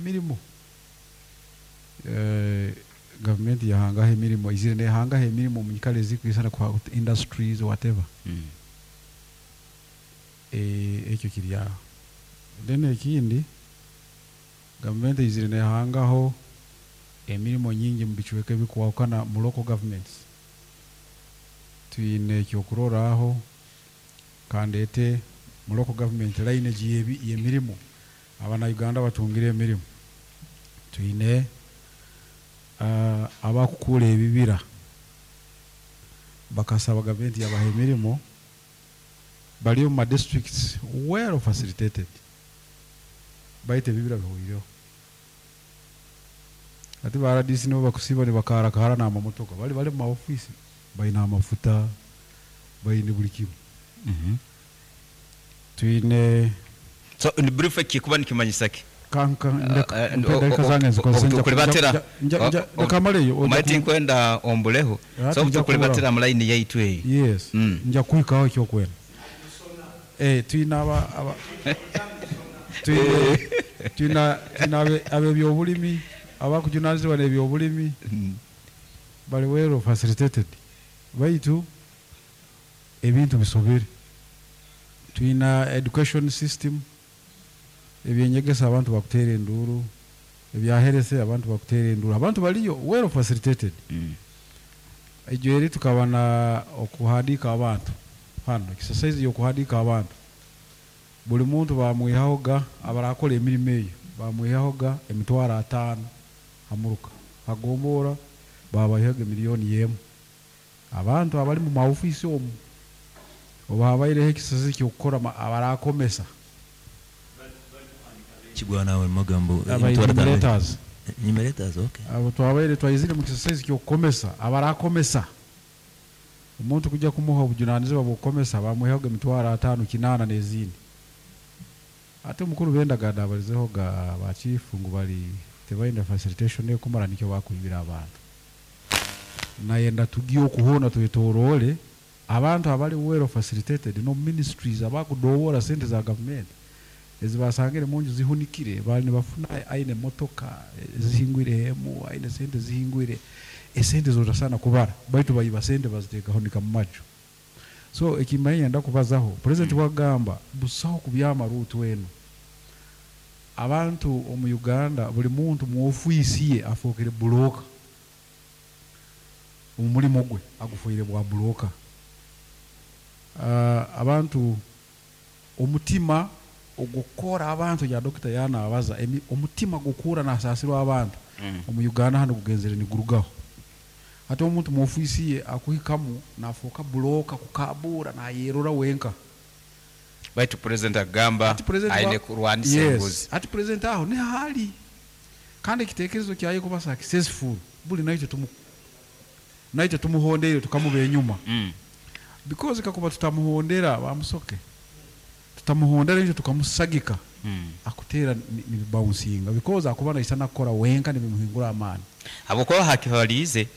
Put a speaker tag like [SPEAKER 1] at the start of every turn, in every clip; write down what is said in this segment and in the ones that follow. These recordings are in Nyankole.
[SPEAKER 1] emirimo eh, gavumenti yahangaho emirimo eizire nehangaho emirimo omu nyikara ezikwisana kwa industries whatever. Eh, ekyo kiri aho. Then ekindi, gavumenti eizire nehangaho emirimo nyingi omu bicweka ebikwahukana mu local governments. Twine ekyokurorraho kandeete mu local government line egi y'ebi y'emirimo abana Uganda batungire emirimo. Twine abakukuura ebibira bakasaba gavumenti yabaha emirimo bari omu ma districts well facilitated baitu ebibira bihweireho. Hati ba rdc nibo bakusiiba nibakaarakaara n'amamotoka bari bari omu ma ofiisi baine amafuta baine buri kimwe. Twine.
[SPEAKER 2] So in brief eki kikuba nikimanyisa ki?
[SPEAKER 1] Ka nka ndeka mpa edakiika zange nzikozese nja
[SPEAKER 2] Obutukuribatira
[SPEAKER 1] nja nja nja leka maleyo oja
[SPEAKER 2] omanye
[SPEAKER 1] ku
[SPEAKER 2] tinkwenda ombureho so
[SPEAKER 1] hati nja
[SPEAKER 2] obutukuribatira
[SPEAKER 1] kuburaho.
[SPEAKER 2] mu line yaitu eyi.
[SPEAKER 1] Yes nja kuhikaho ekyokwenda. Eh twine aba aba twine twine twine abe ab'ebyobulimi abakujunanizibwa n'ebyobulimi bari well facilitated baitu ebintu bisobire. Twine education system, ebyenyegesa abantu bakuteera enduuru, ebya health abantu bakuteera enduuru, abantu bariyo well facilitated. Egyo eri tukaba na okuhandiika abantu hanu, exercise y'okuhandiika abantu, buri muntu bamwihahoga abarakora emirimo eyo bamwihahoga emitwaro ataano ha muruka, ha gombora babaihaga emiliyoni emu. Abantu abari mu ma ofiisi omu obu habaireho ekisasi ky'okukora abarakomesa.
[SPEAKER 3] Kigwa nawe magambo
[SPEAKER 1] Aba
[SPEAKER 3] emitwaro ataano.
[SPEAKER 1] enumerators.
[SPEAKER 3] Enumerators, okay.
[SPEAKER 1] Abo twabaire twaizire mu kisasi ky'okukomesa abarakomesa. Omuntu kujya kumuha obujunanizibwa bw'okukomesa bamwihaga emitwaro ataano kinaana n'ezindi. Ati omukuru b'endagaano abarizeho ga ba chief ngu bari tibaine facilitation ekumara nikyo bakwibira abantu. Nayenda tugye oku hoona twetoroore abantu abari well facilitated n'omu ministries abakudobora sente za gavumenti ezi basangire munju zihunikire bari nibafuna aine emotoka zihingwireho emu aine sente zihingwire esente zotasaana kubara baitu baiba sente baziteeka hunika mumaju. So ekimbaire niinyenda kubazaho president bwakugamba busaho kubyama route enu abantu omu Uganda buri muntu mu ofiisi ye afookere broker. Omurimo gwe agufoire bwa broker. Abantu omutima ogw'okukora abantu ya Dokita yanabaza omutima gw'okuhurra nasaasirwa abantu omu Uganda hanu gugenzere nigurugaho. Hati omuntu mu ofiisi ye akuhikamu nafooka broker kukabuura nayerora wenka.
[SPEAKER 2] Baitu Purezidenti akagamba
[SPEAKER 1] Hati Purezidenti
[SPEAKER 2] aine kurwanisa
[SPEAKER 1] yes,
[SPEAKER 2] enguzi.
[SPEAKER 1] hati Purezidenti aho niho ari. Kandi ekitekerezo kyaye kuba successful buri naitwe tumu naitwe tumuhondeire tukamuba enyuma because kakuba tutamuhondera bamusoke tutamuhondera itwe tukamusagika akuteera nibibouncinga because akuba naisana kukora wenka nibimuhingura amaani.
[SPEAKER 2] Habwokuba hakibaliize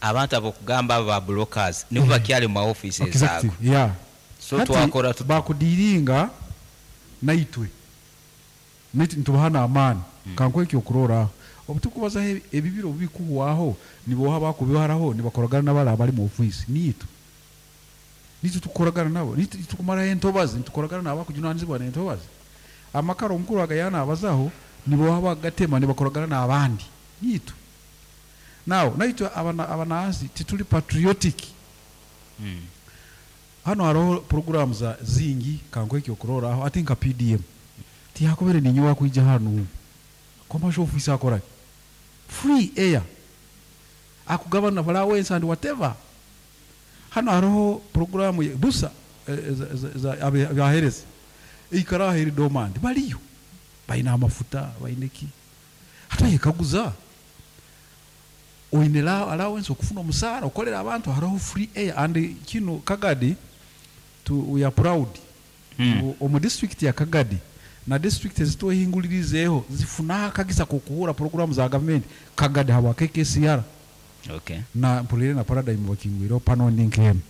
[SPEAKER 2] abantu abokugamba abo ba brokers nibo bakyali mu ma offices
[SPEAKER 1] Exactly,
[SPEAKER 2] ago.
[SPEAKER 1] yeah.
[SPEAKER 2] So
[SPEAKER 1] Hati
[SPEAKER 2] twakora tuta?
[SPEAKER 1] bakudiringa naitwe. Naitwe nitubaha n'amaani. Kankuhe ekyokurorraho, obutukubazaho ebibira obubikuhwaho, niboha abakubiharaho nibakoragana nabali abali mu ofiisi? Niitwe. Niitwe tukukoragana nabo. Niitwe tukumaraho entobazi, nitukoragana n'abakujunanizibwa n'entobazi. Amakara omukuru aga yanabazaho, niboha abakugatema nibakoragana n'abandi? Niitwe. Now, naitwe abanansi tituli patriotic. Hanu haroho puroguraamu za zingi kankuhe ekyokurorraho hati nka PDM tiyakubere ninyowe akwija hanu commercial office akoraki? Free air akugabana allowance and whatever. Hanu haroho puroguraamu busa eza abahereza eikara aho eri dormant bariyo baine amafuta baine ki. Hati oyekaguza Oine allowance okufuna omusaara okorera abantu haroho free air and kinu Kagadi tu we are proud ngu omu district ya Kagadi na district ezitwehinguririzeeho zifunaho akagisa k'okuhuura puroguramu za gavumenti Kagadi habwa KKCR
[SPEAKER 2] Okay.
[SPEAKER 1] na mpuriire na Paradigm bakingwireho pano ndi nk'emu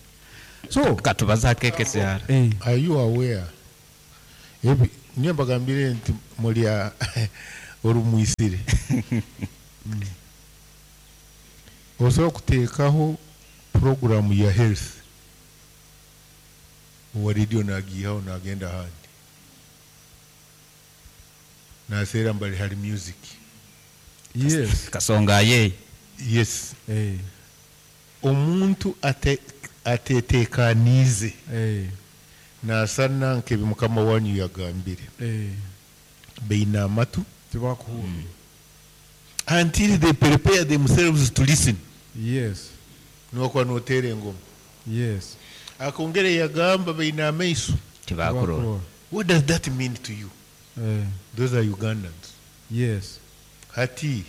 [SPEAKER 1] so
[SPEAKER 2] Katubaze aha KKCR.
[SPEAKER 1] Eh.
[SPEAKER 4] Are you aware ebi nyowe mbagambire nti muri a. Orumwisire. Osobola kuteekaho puroguramu ya health, owa radio nagiihaho nagenda ahandi. Naseera mbali hari music.
[SPEAKER 1] Yes.
[SPEAKER 2] Kasonga aye.
[SPEAKER 4] Yes.
[SPEAKER 1] Eh.
[SPEAKER 4] Omuntu ate atetekaniize
[SPEAKER 1] Eh.
[SPEAKER 4] nasana nkebi mukama wanyu yagambire.
[SPEAKER 1] Eh.
[SPEAKER 4] Baine amatu.
[SPEAKER 1] Tibakuhurra.
[SPEAKER 4] Until they prepare themselves to listen.
[SPEAKER 1] Yes.
[SPEAKER 4] Nokuba noteera engoma.
[SPEAKER 1] Yes.
[SPEAKER 4] Akongera yagamba baine amaiso.
[SPEAKER 2] Tibakurora.
[SPEAKER 4] What does that mean to you?
[SPEAKER 1] Eh.
[SPEAKER 4] Those are Ugandans.
[SPEAKER 1] Yes.
[SPEAKER 4] Hati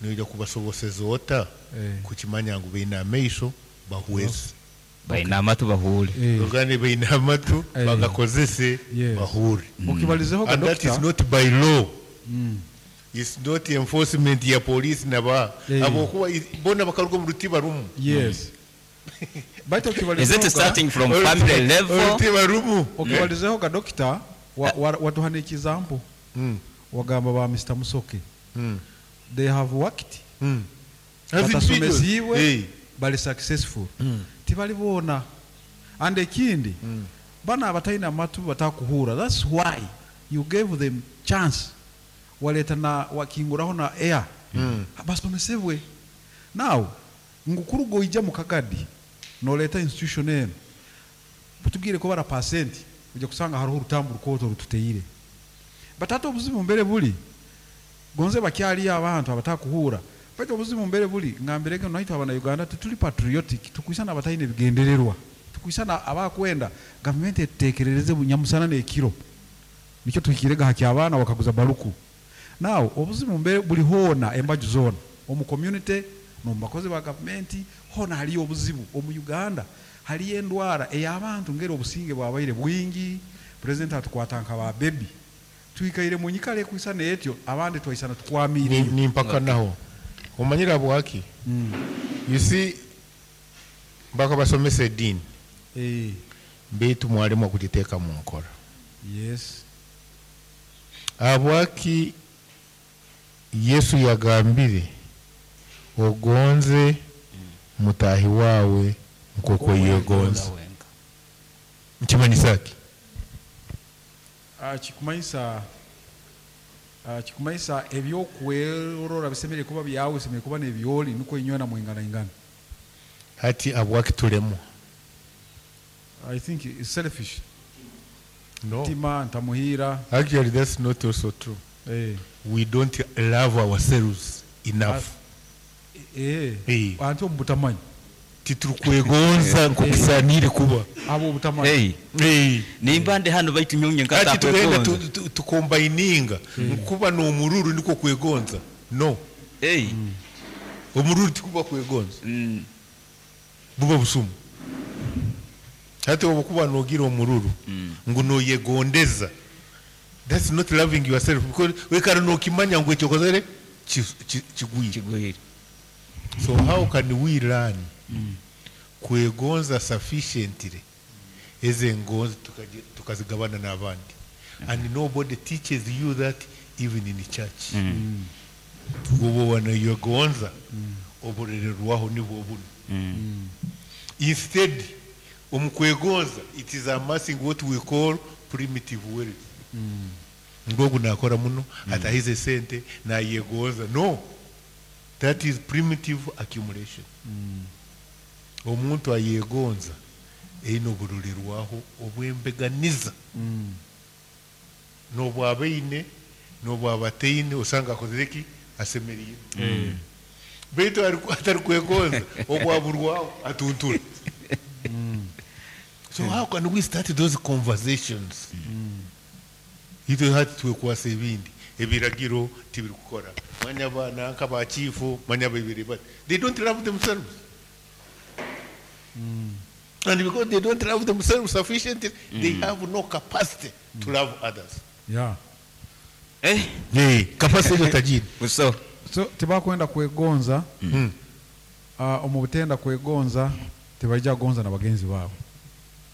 [SPEAKER 4] noija kubasoboseza ota
[SPEAKER 1] Eh.
[SPEAKER 4] kukimanya ngu baine amaiso bahweze.
[SPEAKER 2] Baine amatu bahuure.
[SPEAKER 1] Eh.
[SPEAKER 4] Ogane baine amatu
[SPEAKER 1] Eh.
[SPEAKER 4] bagakozese
[SPEAKER 1] Yes.
[SPEAKER 4] bahure.
[SPEAKER 1] Okibalizeho ga
[SPEAKER 4] And that is
[SPEAKER 1] doctor.
[SPEAKER 4] not by law. It's not enforcement ya police naba
[SPEAKER 1] Eh.
[SPEAKER 4] abokuba bona bakaruga omu rutiba rumu.
[SPEAKER 1] Yes. Baitu
[SPEAKER 2] Is
[SPEAKER 1] okibalizeho
[SPEAKER 2] it
[SPEAKER 1] ga
[SPEAKER 2] starting from family level?
[SPEAKER 4] Orutiba rumu.
[SPEAKER 1] okibalizeho ga doctor watuhana example. Wagamba ba Mr. Musoke. They have worked.
[SPEAKER 4] As
[SPEAKER 1] Batasomesiibwe
[SPEAKER 4] individuals.
[SPEAKER 1] bali successful. Tibali boona. And ekindi bana abataine amatu batakuhura. That's why you gave them chance. Waleta na wakinguraho na air. Basomesebwe. Now ngu kuruga oija mu kagadi noleeta institution eno butubwire ko bara percent ujya kusanga hariho orutambu rukooto rututeire. But ate obuzibu mbere buli gonze bakyaliyo abantu abatakuhura, baitu obuzibu mbere buli ngambirege naitwe abana Uganda tituli patriotic, tukwisana abataine bigendererwa, tukwisana abakwenda gavumenti etutekerereze bunyamusana n'ekiro nikyo tuhikirega haki abaana wakaguza baruku. Now obuzibu mbere buli hoona embaju zoona omu community n'omu bakozi ba gavumenti hoona haliyo obuzibu. Omu Uganda haliyo endwara ey'abantu ngeri obusinge bwabaire bwingi, president atukwata nka ba baby, twikaire mu nyikara ekwisana etyo, abandi twaisana tukwamiireyo.
[SPEAKER 4] Nimpaka naho omanyire bwaki. You see, bakabasomesa ediini
[SPEAKER 1] Eh,
[SPEAKER 4] beitu mwaremwa kugiteeka mu nkora.
[SPEAKER 1] Yes.
[SPEAKER 4] Habwaki Yesu yagambire ogonze mutahi wawe nk'oku oyegonza? Nkimanyisa ki?
[SPEAKER 1] Kikumanyisa ebyokwerora bisemere kuba byawe, bisemere kuba n'ebyoli, nukwo inywena mwinganaingana.
[SPEAKER 4] Hati habwaki tulemwa?
[SPEAKER 1] I think it's selfish.
[SPEAKER 4] No.
[SPEAKER 1] Tima ntamuhira.
[SPEAKER 4] Actually, that's not also true.
[SPEAKER 1] Eh.
[SPEAKER 4] We don't love ourselves enough.
[SPEAKER 1] Eh.
[SPEAKER 4] Eh.
[SPEAKER 1] Anti omu butamanyi.
[SPEAKER 4] Titurikwegonza nk'okusaaniire kuba.
[SPEAKER 1] Abo obutamanyi.
[SPEAKER 2] Hey,
[SPEAKER 4] Eh.
[SPEAKER 2] nimba ndi hano baitu nyonye
[SPEAKER 4] Hati tugenda
[SPEAKER 2] nkatakwegonza.
[SPEAKER 4] tukombininga nkuba n'omururu nikwo kwegonza. No.
[SPEAKER 2] Hey.
[SPEAKER 4] Omururu tikuba kwegonza. Buba busumu. Hati obukuba nogira omururu ngu noyegondeza, that's not loving yourself, because wekara nokimanya ngu ekyo okozere kigwire.
[SPEAKER 2] Kigwire.
[SPEAKER 4] So how can we learn kwegonza sufficiently eze ngonzi tukazigabana n'abandi? And nobody teaches you that, even in church. Ubo wanayegonza oburererwaho nibwo buno. Instead, omu kwegonza, it is amassing what we call primitive wealth. Ngogu nakora muno atahize sente nayegonza. No, that is primitive accumulation. Omuntu ayegonza eine oburorerwaho obwembeganiza n'obwaba eine n'obwaba ataine, osanga akozere ki asemeriire, baitu atari kwegonza obwaburwaho atuntura. So how can we start those conversations? Itwe hati twekwasa ebindi ebiragiro tibirikukora. Manya abaana nka bachifu, manya bibiri bati they don't love themselves, and because they don't love themselves sufficiently, they have no capacity to love others.
[SPEAKER 2] Eh,
[SPEAKER 4] Hey, capacity eyo tajiri.
[SPEAKER 2] Buso.
[SPEAKER 1] So tibakwenda kwegonza. Omu butenda kwegonza tibaija kugonza na bagenzi baabo.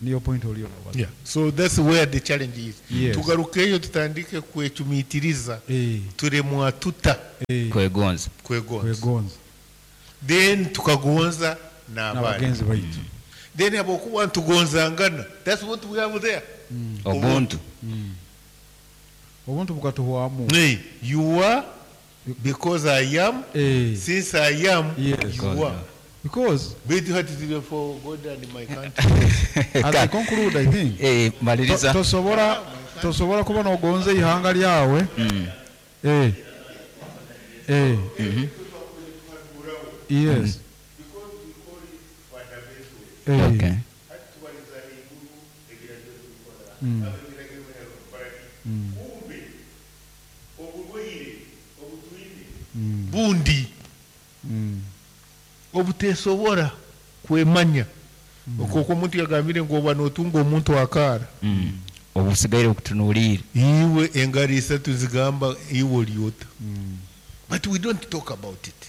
[SPEAKER 1] Niyo point oriyo nobaza.
[SPEAKER 4] Yeah. So that's where the challenge is.
[SPEAKER 1] Yes.
[SPEAKER 4] Tugarukeyo tutandike kwecumitiriza
[SPEAKER 1] Eh,
[SPEAKER 4] turemwa tuta
[SPEAKER 1] eh,
[SPEAKER 2] Kwegonza.
[SPEAKER 4] kwegonza.
[SPEAKER 1] kwegonza
[SPEAKER 4] Then tukagonza n'abandi.
[SPEAKER 1] n'abagenzi baitu.
[SPEAKER 4] Then abokuba ntugonzangana. That's what we have there.
[SPEAKER 2] Obuntu.
[SPEAKER 1] Obuntu bukatuhwamu.
[SPEAKER 4] Hey, you are because I am.
[SPEAKER 1] Eh,
[SPEAKER 4] Since I am,
[SPEAKER 1] Yes.
[SPEAKER 4] you are.
[SPEAKER 1] because
[SPEAKER 4] Baitu hati zile for God and my country.
[SPEAKER 1] as I conclude, I think
[SPEAKER 2] Eh, maliriza.
[SPEAKER 1] tosobora tosobora kuba nogonza ihanga lyawe. Eh. Eh. Yes. Eh.
[SPEAKER 2] Okay.
[SPEAKER 4] Bundi obutesobora kwemanya okwo omuntu yagambire ngu oba notunga omuntu akaara.
[SPEAKER 2] Obusigaire okutunuulire.
[SPEAKER 4] Iwe engaro isatu zigamba iwe olyota, but we don't talk about it.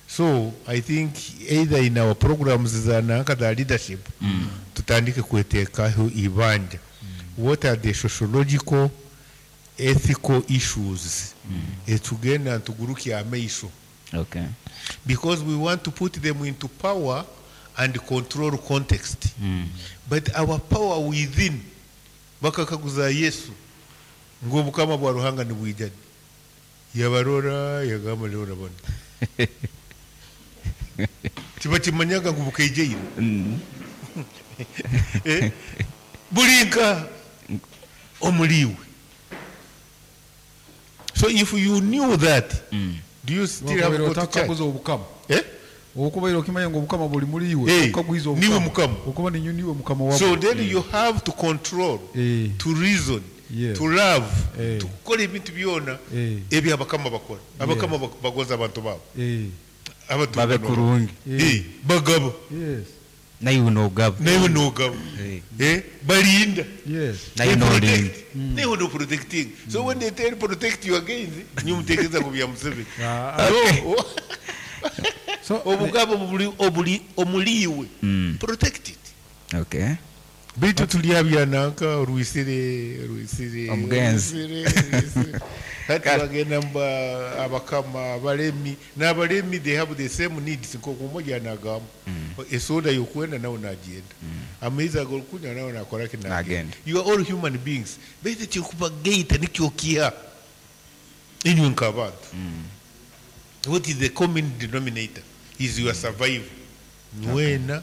[SPEAKER 4] So I think either in our programs za nanka za leadership tutandike kwetekaho ibanja. What are the sociological ethical issues etugenda ntugurukya amaisho?
[SPEAKER 2] Okay.
[SPEAKER 4] Because we want to put them into power and control context. But our power within, bakakaguza Yesu ngu obukama bwa Ruhanga nibwija, yabarora yagamba leo urabona kiba kimanyaga ngu bukaijaire. Eh, bulinka omuliwe. So if you knew that, do you still have
[SPEAKER 1] Wakubaire
[SPEAKER 4] to go to church?
[SPEAKER 1] otakaguza obukama.
[SPEAKER 4] Eh?
[SPEAKER 1] Okubaire okimanya ngu obukama buli muri iwe,
[SPEAKER 4] Eh,
[SPEAKER 1] okagwiza
[SPEAKER 4] niwe
[SPEAKER 1] obukama.
[SPEAKER 4] mukama.
[SPEAKER 1] Okuba ninyo niwe mukama wabwo.
[SPEAKER 4] So then you have to control,
[SPEAKER 1] Eh.
[SPEAKER 4] to reason,
[SPEAKER 1] Yes.
[SPEAKER 4] to love,
[SPEAKER 1] Eh.
[SPEAKER 4] to kukora ebintu byona
[SPEAKER 1] Eh.
[SPEAKER 4] ebyo abakama bakora. Abakama bagoza abantu babo.
[SPEAKER 1] Eh.
[SPEAKER 4] Abatunga
[SPEAKER 2] Babe
[SPEAKER 4] nabo.
[SPEAKER 2] kurungi.
[SPEAKER 4] Eh, bagaba.
[SPEAKER 1] Yes.
[SPEAKER 2] Naiwe nogaba.
[SPEAKER 4] Naiwe nogaba. Eh, balinda.
[SPEAKER 1] Yes.
[SPEAKER 2] Naiwe
[SPEAKER 4] They
[SPEAKER 2] nolinda.
[SPEAKER 4] protect. Naiwe no protecting. So when they tell protect you again, nyumutekereza ku bya Museveni.
[SPEAKER 1] Ah,
[SPEAKER 4] No.
[SPEAKER 1] So
[SPEAKER 4] Obugabo buli obuli omuliwe. Protect it.
[SPEAKER 2] Okay.
[SPEAKER 4] Bitu tulya nanka orwisire orwisire
[SPEAKER 2] Omugenzi.
[SPEAKER 4] orwisire, orwisire. Hati bagenda mba abakama abalemi n'abalemi, they have the same needs nk'oku omoja anagamba esoda yokwenda nawe nagenda, amaizi ag'okunywa nawe nakora ki nagenda.
[SPEAKER 2] Nagenda.
[SPEAKER 4] You are all human beings, baitu ekikubageita nikyo kiha inywe nk'abantu. What is the common denominator is your survival, nywena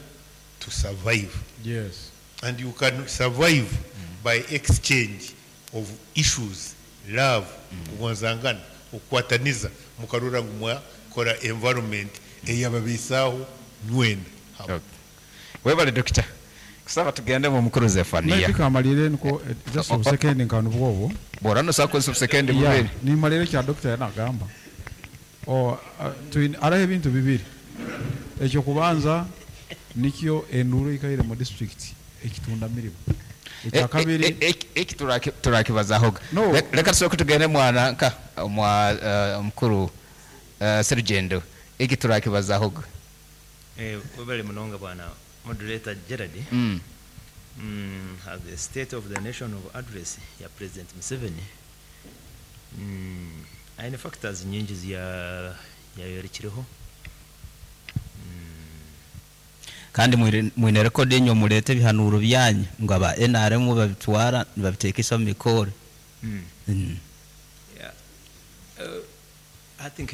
[SPEAKER 4] to survive.
[SPEAKER 1] Yes.
[SPEAKER 4] And you can survive by exchange of issues, love, kugonzangana, okukwataniza mukarora ngu mwakora environment eyababisaaho nywena.
[SPEAKER 2] Okay. Webale dokita. Kusaba tugende mu mukuru Zefania.
[SPEAKER 1] Maybe kamalire niko just obusekendi nkanu bwobo.
[SPEAKER 2] Bora no sakoze obusekendi
[SPEAKER 1] Yeah,
[SPEAKER 2] bubiri.
[SPEAKER 1] nimalire kya dokita yanagamba. O araho ebintu bibiri. Ekyo kubanza nikyo enduru ikaire mu district ekitunda mirimu. Ekya kabiri
[SPEAKER 2] Eki turakibazahoga.
[SPEAKER 1] No.
[SPEAKER 2] Leka tusooke tugende mwana nka mwa omukuru Serugendo. Eki turakibazahoga.
[SPEAKER 3] Eh, webale munonga bwana moderator Gerard. At the state of the nation of address ya President Museveni, aine factors nyingi yayorekireho.
[SPEAKER 2] Kandi mwine record enyo mulete ebihanuro byanyu ngo aba NRM babitwara nibabitekesa mu mikoro.
[SPEAKER 3] Yeah. I think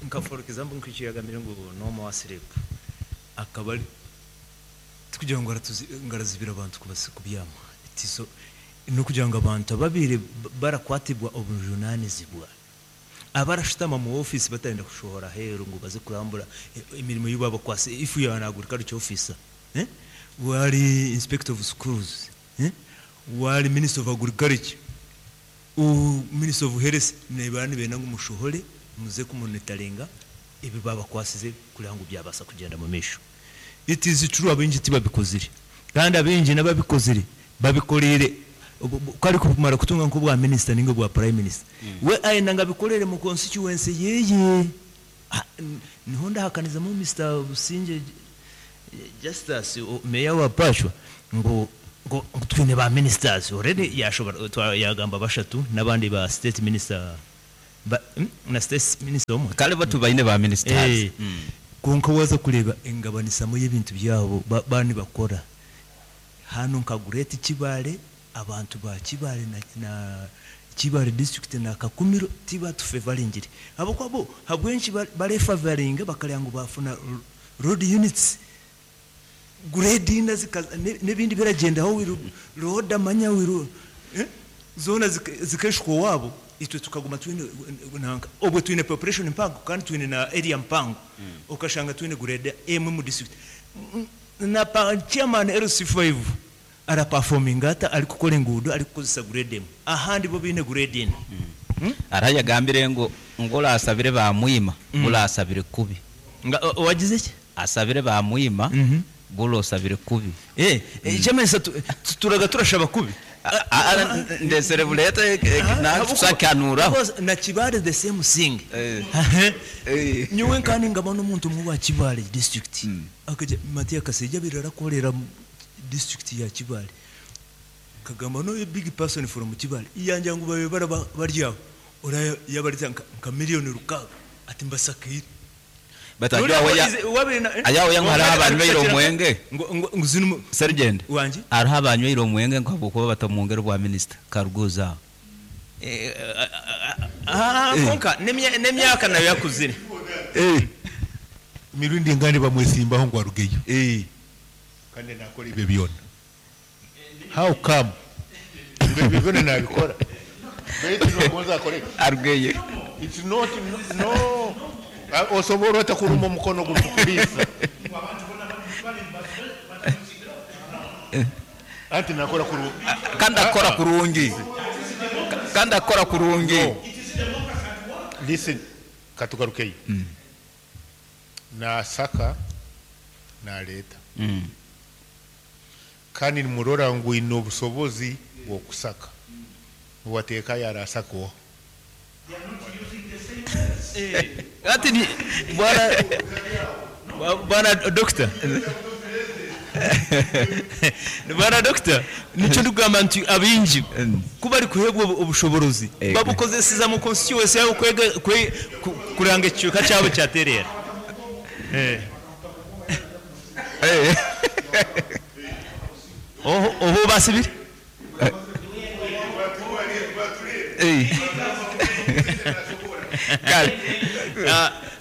[SPEAKER 3] nka for example nk'ikiyagambire ngu no more sleep akaba ari kugira ngo ngarazibira abantu kubyama itiso no kugira ngo abantu ababire barakwatibwa obujunanizibwa abarashitama mu office batenda kushohora heru ngo baze kurambura imirimo y'ubaba kwase ifu ya na agriculture officer, wali inspector of schools, wali minister of agriculture, u minister of health, nebani bena ngo mushohore muze kumonitoringa ibi baba kwasize kugira ngo byabasa kugenda mu misho. It is true abingi tibabikozire kandi abingi nababikozire babikorere kari kumara kutunga nko bwa minister ningo bwa prime minister. We aina ngabikorere mu constituency yeye. Niho ndahakaniza mu Mr. Businge Justus meya wa Pachwa ngu ngu ngu twine ba ministers already yashobora twa yagamba bashatu n'abandi ba state minister ba na state minister omwe.
[SPEAKER 2] Kale bo tubaine ba ministers.
[SPEAKER 3] Eh, kwonka waza kureeba engabanisamu y'ebintu byabo ba ba nibakora hanu nka Great Kibaale abantu ba Kibaale na na Kibaale district na Kakumiro tibatufevaringire ahabw'okuba bo habw'enki barefavaringa bakareba ngu bafuna road units grade ina zikaza n'ebindi biragyendaho we roda manya we zoona zikeshukwa owaabo itwe tukaguma twine nanka obwe twine population mpango kandi twine na area mpango okashanga twine grade emwe mu district na chairman LC5 araperforminga ata arikukora enguudo arikukozesa grade emwe ahandi bo baine grade ina.
[SPEAKER 2] Hariho ayagambire ngu ngu orasabire bamwima buri asabire kubi.
[SPEAKER 3] Nga owagize ki?
[SPEAKER 2] Asabire bamwima buri osabire kubi.
[SPEAKER 3] Eh, ekyamanyisa tuturaga turashaba kubi.
[SPEAKER 2] Ndesere bureete nakusakanuraho.
[SPEAKER 3] Na Kibaale the same thing. Nyowe nka ningaba n'omuntu omwe owa Kibaale district. Akagira Matia Kaseija abaire arakorera district ya Kibaale. Nkagamba no a big person from Kibaale yangira ngu babaire baraba bari aho oraba yabareta nka million rukaaga ati mbasakaire.
[SPEAKER 2] Baitu aho aho ngu hariho abanyweire omwenge. Sergeant, hariho abanyweire omwenge ngu habwokuba batamwongera obwa minisita Karuguuzi aho.
[SPEAKER 3] Kwonka n'emyaka nayo yakuzire.
[SPEAKER 4] Emirundi engandi bamwesimbaho ngu arugeyo. Kandi nakora ebyo byona. How come? Ngu ebyo byona nabikora. Baitu nogonza akore ki?
[SPEAKER 2] Arugeyo.
[SPEAKER 4] It's not no. Osobora ota kuruma omukono gurikukuriisa? Anti nakora kurungi.
[SPEAKER 2] Kandi akora kurungi. Kandi akora kurungi.
[SPEAKER 4] No. Listen, katugarukeyo. Nasaka naleeta. Kandi nimurora ngu aine obusobozi bw'okusaka. Niwateekayo arasaka oha?
[SPEAKER 3] Hati ni bwana bwana doctor bwana doctor nikyo ndikugamba nti abaingi ku barikuheebwa obushoborozi babukozeseza mu constituency yaabo kwega kwe kureba ngu ekicweka kyabo kyatereera. Oha obaasibire?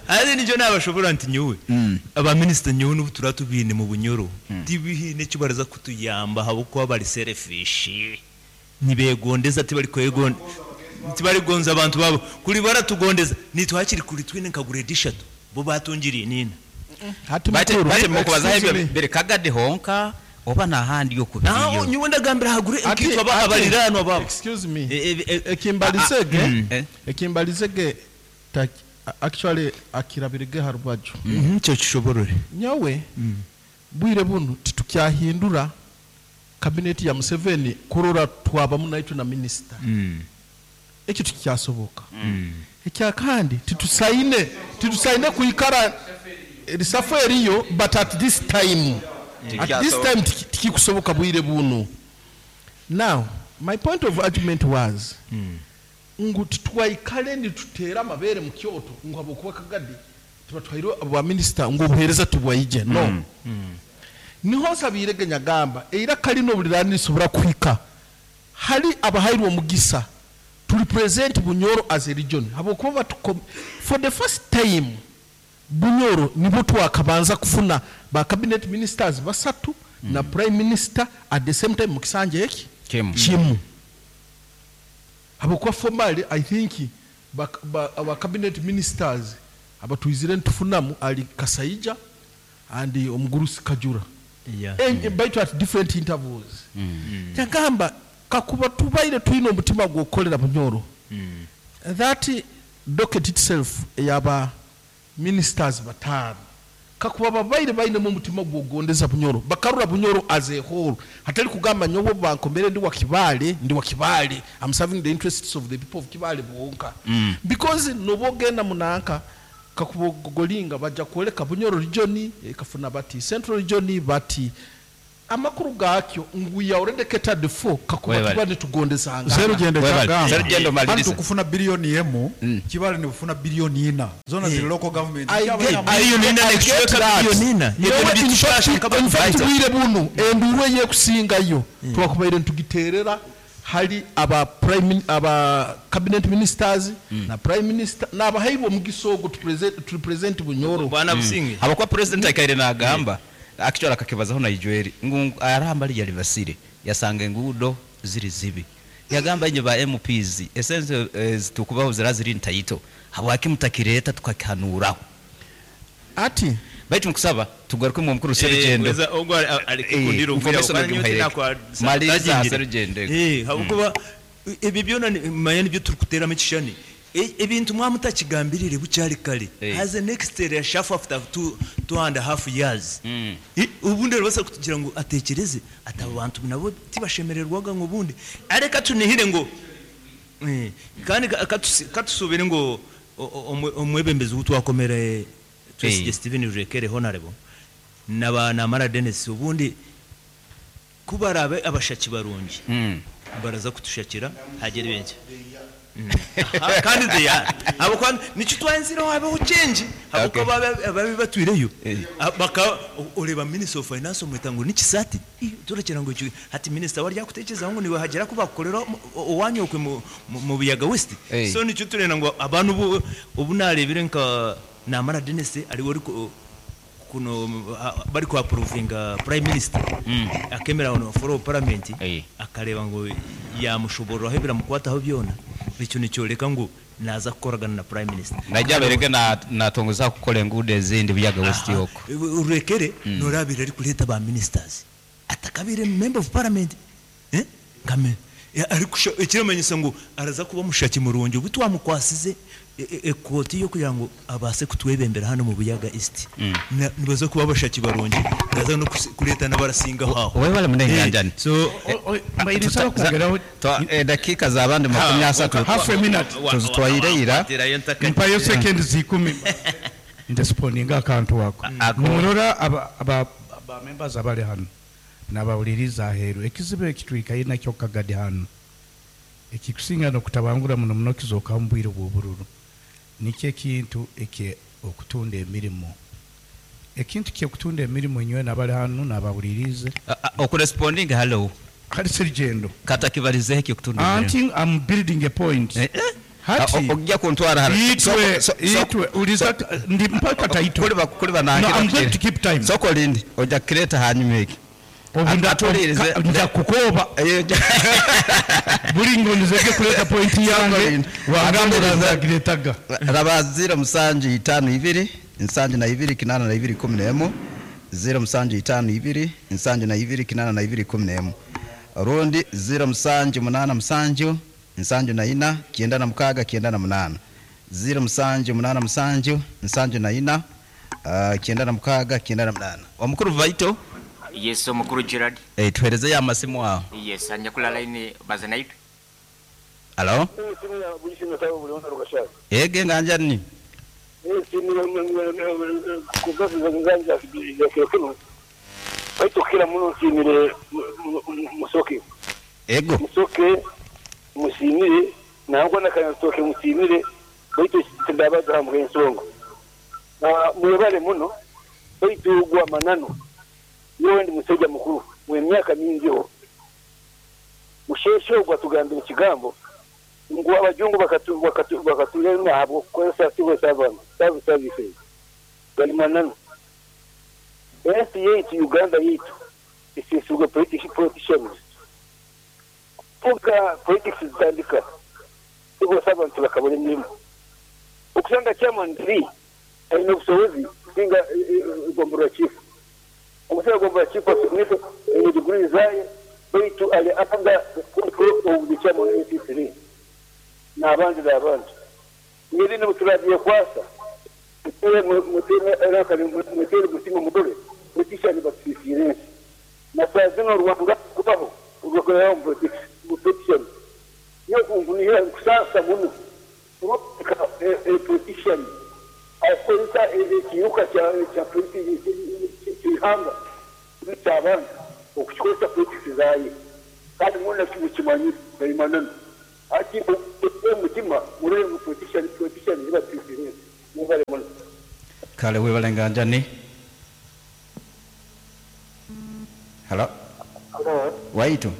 [SPEAKER 3] Haza nikyo naabashoboorora nti nyowe aba minisita nyowe n'obu turaba tubaine mu Bunyoro tibaine eki baraza kutuyamba ahabw'okuba bari selfish nibegondeza tibarikugonza abantu baabo kuri baratugondeza naitwe hakiri kuri twine nka grade ishatu bo baatungire niina.
[SPEAKER 5] Hati
[SPEAKER 2] Bati
[SPEAKER 5] mukuru,
[SPEAKER 2] bati mukubazaho
[SPEAKER 5] excuse
[SPEAKER 2] ebyo
[SPEAKER 5] me.
[SPEAKER 2] biri kagadi honka oba n'ahandi oku biriyo.
[SPEAKER 3] Nyowe ndagambira aha grade
[SPEAKER 5] Ati,
[SPEAKER 3] nkaitwe
[SPEAKER 5] ati,
[SPEAKER 3] abariraanwa baabo.
[SPEAKER 5] Excuse me.
[SPEAKER 2] Ah, eh.
[SPEAKER 5] Ekimbarizege actually akirabirege ha rubaju.
[SPEAKER 3] Nikyo kishoborore.
[SPEAKER 5] Nyowe bwire bunu titukyahindura kabineti ya Museveni kurora twabamu naitwe na minisita. Ekyo tikikyasoboka. Ekyakandi titusaine kwikara erisafu eriyo, but at this time, at this time tikikusoboka bwire bunu. Now my point of argument was ngu titwaikale nituteera amabere mu kyoto ngu habwokuba Kagadi tubatwaire aba minisita ngu obuheereza tibwaije. No. Niho nsabiirege nyagamba eiraka lino buli rani lisobora kuhika hali abahairwe omugisa to represent Bunyoro as a region habwokuba for the first time Bunyoro nibo twakabanza kufuna ba cabinet ministers basatu na prime minister at the same time mu kisanja eki
[SPEAKER 2] Kimu.
[SPEAKER 5] kimu. Habwokuba formally I think our cabinet ministers abatwizire nitufunamu ali Kasaija and Omugurusi Kajura. Baitu at different intervals. Kyagamba kakuba tubaire twine omutima gw'okukolera Bunyoro. That docket itself eyaba ministers bataano kakuba babaire bainemu omutima gw'okugondeza Bunyoro bakarura Bunyoro as a whole hatari kugamba nyowe bankomere ndi wa Kibaale ndi wa Kibaale I'm serving the interests of the people of Kibaale bonka. Because noba ogenda munanka Kakuba ogogolinga baja kwoleka Bunyoro region ekafuna bati, Central region bati. Amakuru gaakyo ngu we are already catered for kakuba
[SPEAKER 2] Webale.
[SPEAKER 5] tuba nitugondezangana.
[SPEAKER 1] Serugendo
[SPEAKER 2] Webale.
[SPEAKER 1] kyagamba
[SPEAKER 2] Serugendo
[SPEAKER 1] hati
[SPEAKER 2] maliriza.
[SPEAKER 1] tukufuna biliyoni emu kibale nibufuna biliyoni ina zona ziri local government.
[SPEAKER 5] I
[SPEAKER 1] Kyaba
[SPEAKER 5] get,
[SPEAKER 1] na-
[SPEAKER 5] I,
[SPEAKER 3] Biliyoni ina
[SPEAKER 5] I get
[SPEAKER 3] nekicweka
[SPEAKER 5] that.
[SPEAKER 3] biliyoni ina.
[SPEAKER 5] Nyowe
[SPEAKER 3] Ebyo
[SPEAKER 5] in
[SPEAKER 3] bitushasha
[SPEAKER 5] fact,
[SPEAKER 3] nkaba
[SPEAKER 5] in fact
[SPEAKER 2] Right.
[SPEAKER 5] bwire bunu enduuru eyekusingayo twakubaire nitugiterera hali aba prime aba cabinet ministers na prime minister n'abahairwe omugisa ogwo to present, to represent Bunyoro.
[SPEAKER 3] Bwana Businge.
[SPEAKER 2] Habwokuba president akaire nagamba actually akakibazaho na Ijweri ngu arahamba lya libasire yasanga enguudo ziri zibi, yagamba inye ba MPs esense zitukubaho zira ziri ntaito habwaki mutakireta tukakihanuraho.
[SPEAKER 5] Ati
[SPEAKER 2] baitu nkusaba tugaruke mu mukuru Serugendo.
[SPEAKER 3] Weza ogwo ari kukundira
[SPEAKER 2] Eh,
[SPEAKER 3] obwira
[SPEAKER 2] nkomesa
[SPEAKER 3] kandi
[SPEAKER 2] ngimuhaire.
[SPEAKER 3] nyowe tinakwa-
[SPEAKER 2] Maliriza
[SPEAKER 3] tagingire.
[SPEAKER 2] Serugendo.
[SPEAKER 3] Habwokuba ebyo byona manya nibyo turikuteeramu ekishushani. Ebintu mwamutakigambirire bukyari kare. Has a next year shafu after two and a half years. Ubundi rero basa kutugira ngu atekereze ati abo bantu nabo tibashemererwaga ngu ubundi areka tunihire ngo kandi katusubire ngo omwebembezi wutwakomere Twesige Steven Rurekere honorable naba Namara Dennis ubundi kubarabe abashaki barungi baraza kutushakira hagere benshi. Aha, kandi they are. Abo kwa nicyo twanzira habeho change. Abo
[SPEAKER 2] Okay.
[SPEAKER 3] kwa babe batwireyo. Baka ureba Minister of Finance omwita ngo nikisati. Turekera ngo icyo hati minister wari yakutekereza ngo niwe hagera kubakorera owanyokwe mu Buyaga West. So nicyo turena ngo abantu ubu narebire nka Namara Dennis ari wari kuno bari ku approvinga Prime Minister. Akemera ono for parliament. Akareba ngo yamushobora aho biramukwataho byona. Icyo nicyoreka ngo naza gukoragana na Prime Minister.
[SPEAKER 2] Najya bereke na tongoza gukora enguudo ezindi Buyaga West yoko.
[SPEAKER 3] Urekere norabira ari kuleta ba ministers. Atakabire member of parliament. Kame. Ari ikiramenyetso ngo araza kuba mushaki murungi ubu twamukwasize ekoti yo kugira ngo abase kutwebembera hano mu Buyaga East. Nibaza kuba abashaki barungi araza no kuleta n'abarasinga aho.
[SPEAKER 2] Wowe bari munenganjani.
[SPEAKER 3] So,
[SPEAKER 6] mbayirisaba kongeraho
[SPEAKER 2] dakika za bandi makumi asatu.
[SPEAKER 6] Half a minute.
[SPEAKER 2] Tuzitwayireira.
[SPEAKER 6] Mpayo seconds 10. Ndesponinga akantu wako. Murora aba members abali hano nabawuliriza aheeru ekizibu ekitwikaye nakyo kagadi hano ekikusinga nokutabangura muno muno kizooka mu bwire bw'obururu nikyo ekintu eke okutunda emirimu ekintu kyokutunda emirimu enywe nabali hano nabawulirize.
[SPEAKER 2] Okuresponding hello
[SPEAKER 6] Hali Serugendo.
[SPEAKER 2] Kata kibarizeho ekyo kutunda emirimu.
[SPEAKER 6] Anti I'm building a point. Hati
[SPEAKER 2] Ojja kuntwara hano.
[SPEAKER 6] Itwe, itwe, uliza ndi mpaka taito.
[SPEAKER 2] Kuli banange
[SPEAKER 6] No, I'm going to keep time.
[SPEAKER 2] Soko lindi ojja kireta hanyuma eki.
[SPEAKER 6] Obunda nja kukoba. Buli ngo nizeke kuleta point yange. Wagamba nzagiretaga.
[SPEAKER 2] Raba zero musanju itano ibiri, nsanju na ibiri kinana na ibiri kumi na emu. Zero musanju itano ibiri, nsanju na ibiri kinana na ibiri kumi na emu. Rundi zero musanju munana musanju, nsanju na ina, kienda na mukaga, kienda na munana. Zero musanju munana musanju, nsanju na ina, kienda na mukaga, kienda na munana. Omukuru Vaito?
[SPEAKER 7] Yes, omukuru Gerard.
[SPEAKER 2] Tuhereze ya masimu aho.
[SPEAKER 7] Yes, anyakula line baza naitwe.
[SPEAKER 2] Hello? Ege nganja ni?
[SPEAKER 8] Musoke.
[SPEAKER 2] Ego.
[SPEAKER 8] Musoke musimire nangwa nakanatoke musimire baitu tindabaza hamwe ensonga. Mwebale muno baitu gwa manano. Yowe ndi musajja mukuru mwe myaka mingi ho. Musheshe ogwa tugambira ekigambo ngu abajungu bakatulema abo kukozesa civil servant services. Gali manano. Ensi yaitu Uganda yaitu isisuga politicians. Tuga politics zitandika. Civil servant bakabona emirimu. Okusanga chairman 3 alina obusobozi kusinga gombolola chief. Omusajja gombolola chief asomese alina degree zaye baitu ali under the control of the chairman AC3 n'abandi n'abandi. Ngeri n'obuturage kwasa mutere mutima mugore politician batusisirensi. Na saa zino Rwanda kubaho ugakorera mu politician. Yo kungunira kusasa muno. Politician Kukozesa ekiiruka kya kya ky'eihanga n'eky'abantu okukikozesa politics zaayo kandi mwena mukimanyire ayo mananu. Hati omu mutima murore ngu politician politicians batwizire ensi. Mwebale muno.
[SPEAKER 2] Kale webale nganjani. Halo.
[SPEAKER 9] Halo.
[SPEAKER 2] Waitu.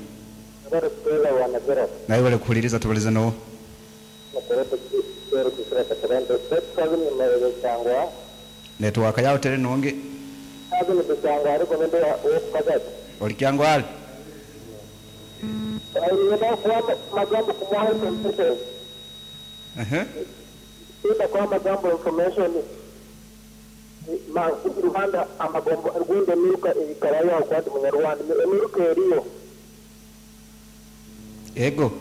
[SPEAKER 9] Webale kuteera wana Gerald.
[SPEAKER 2] Nawe webale kuhuliriza tubalize noha? Netiwaaka yaawe teri nungi. Ori Kyangwali? Ehe. Ego.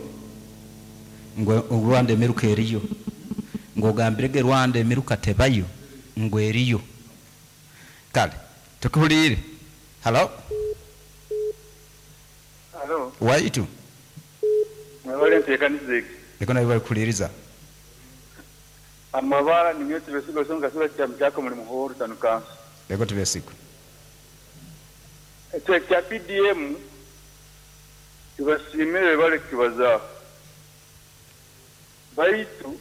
[SPEAKER 2] Ngu Rwanda emiruka eriyo. Ngu ogambire ge Rwanda emiruka tebayo, ngu eriyo. Kale, tukuhuliire. Halo?
[SPEAKER 10] Halo.
[SPEAKER 2] Waitu.
[SPEAKER 10] Mwebale enteekaniza egi.
[SPEAKER 2] Ego naiwe barikuhuliiriza.
[SPEAKER 10] Amabara ninyowe Tibesigwa Osonga Kasura Kyamu kyaka omuri Muhoro Town Council.
[SPEAKER 2] Ego Tibesigwa.
[SPEAKER 10] Ekyo ekya PDM tubasiimire bebale kukibazaaho baitu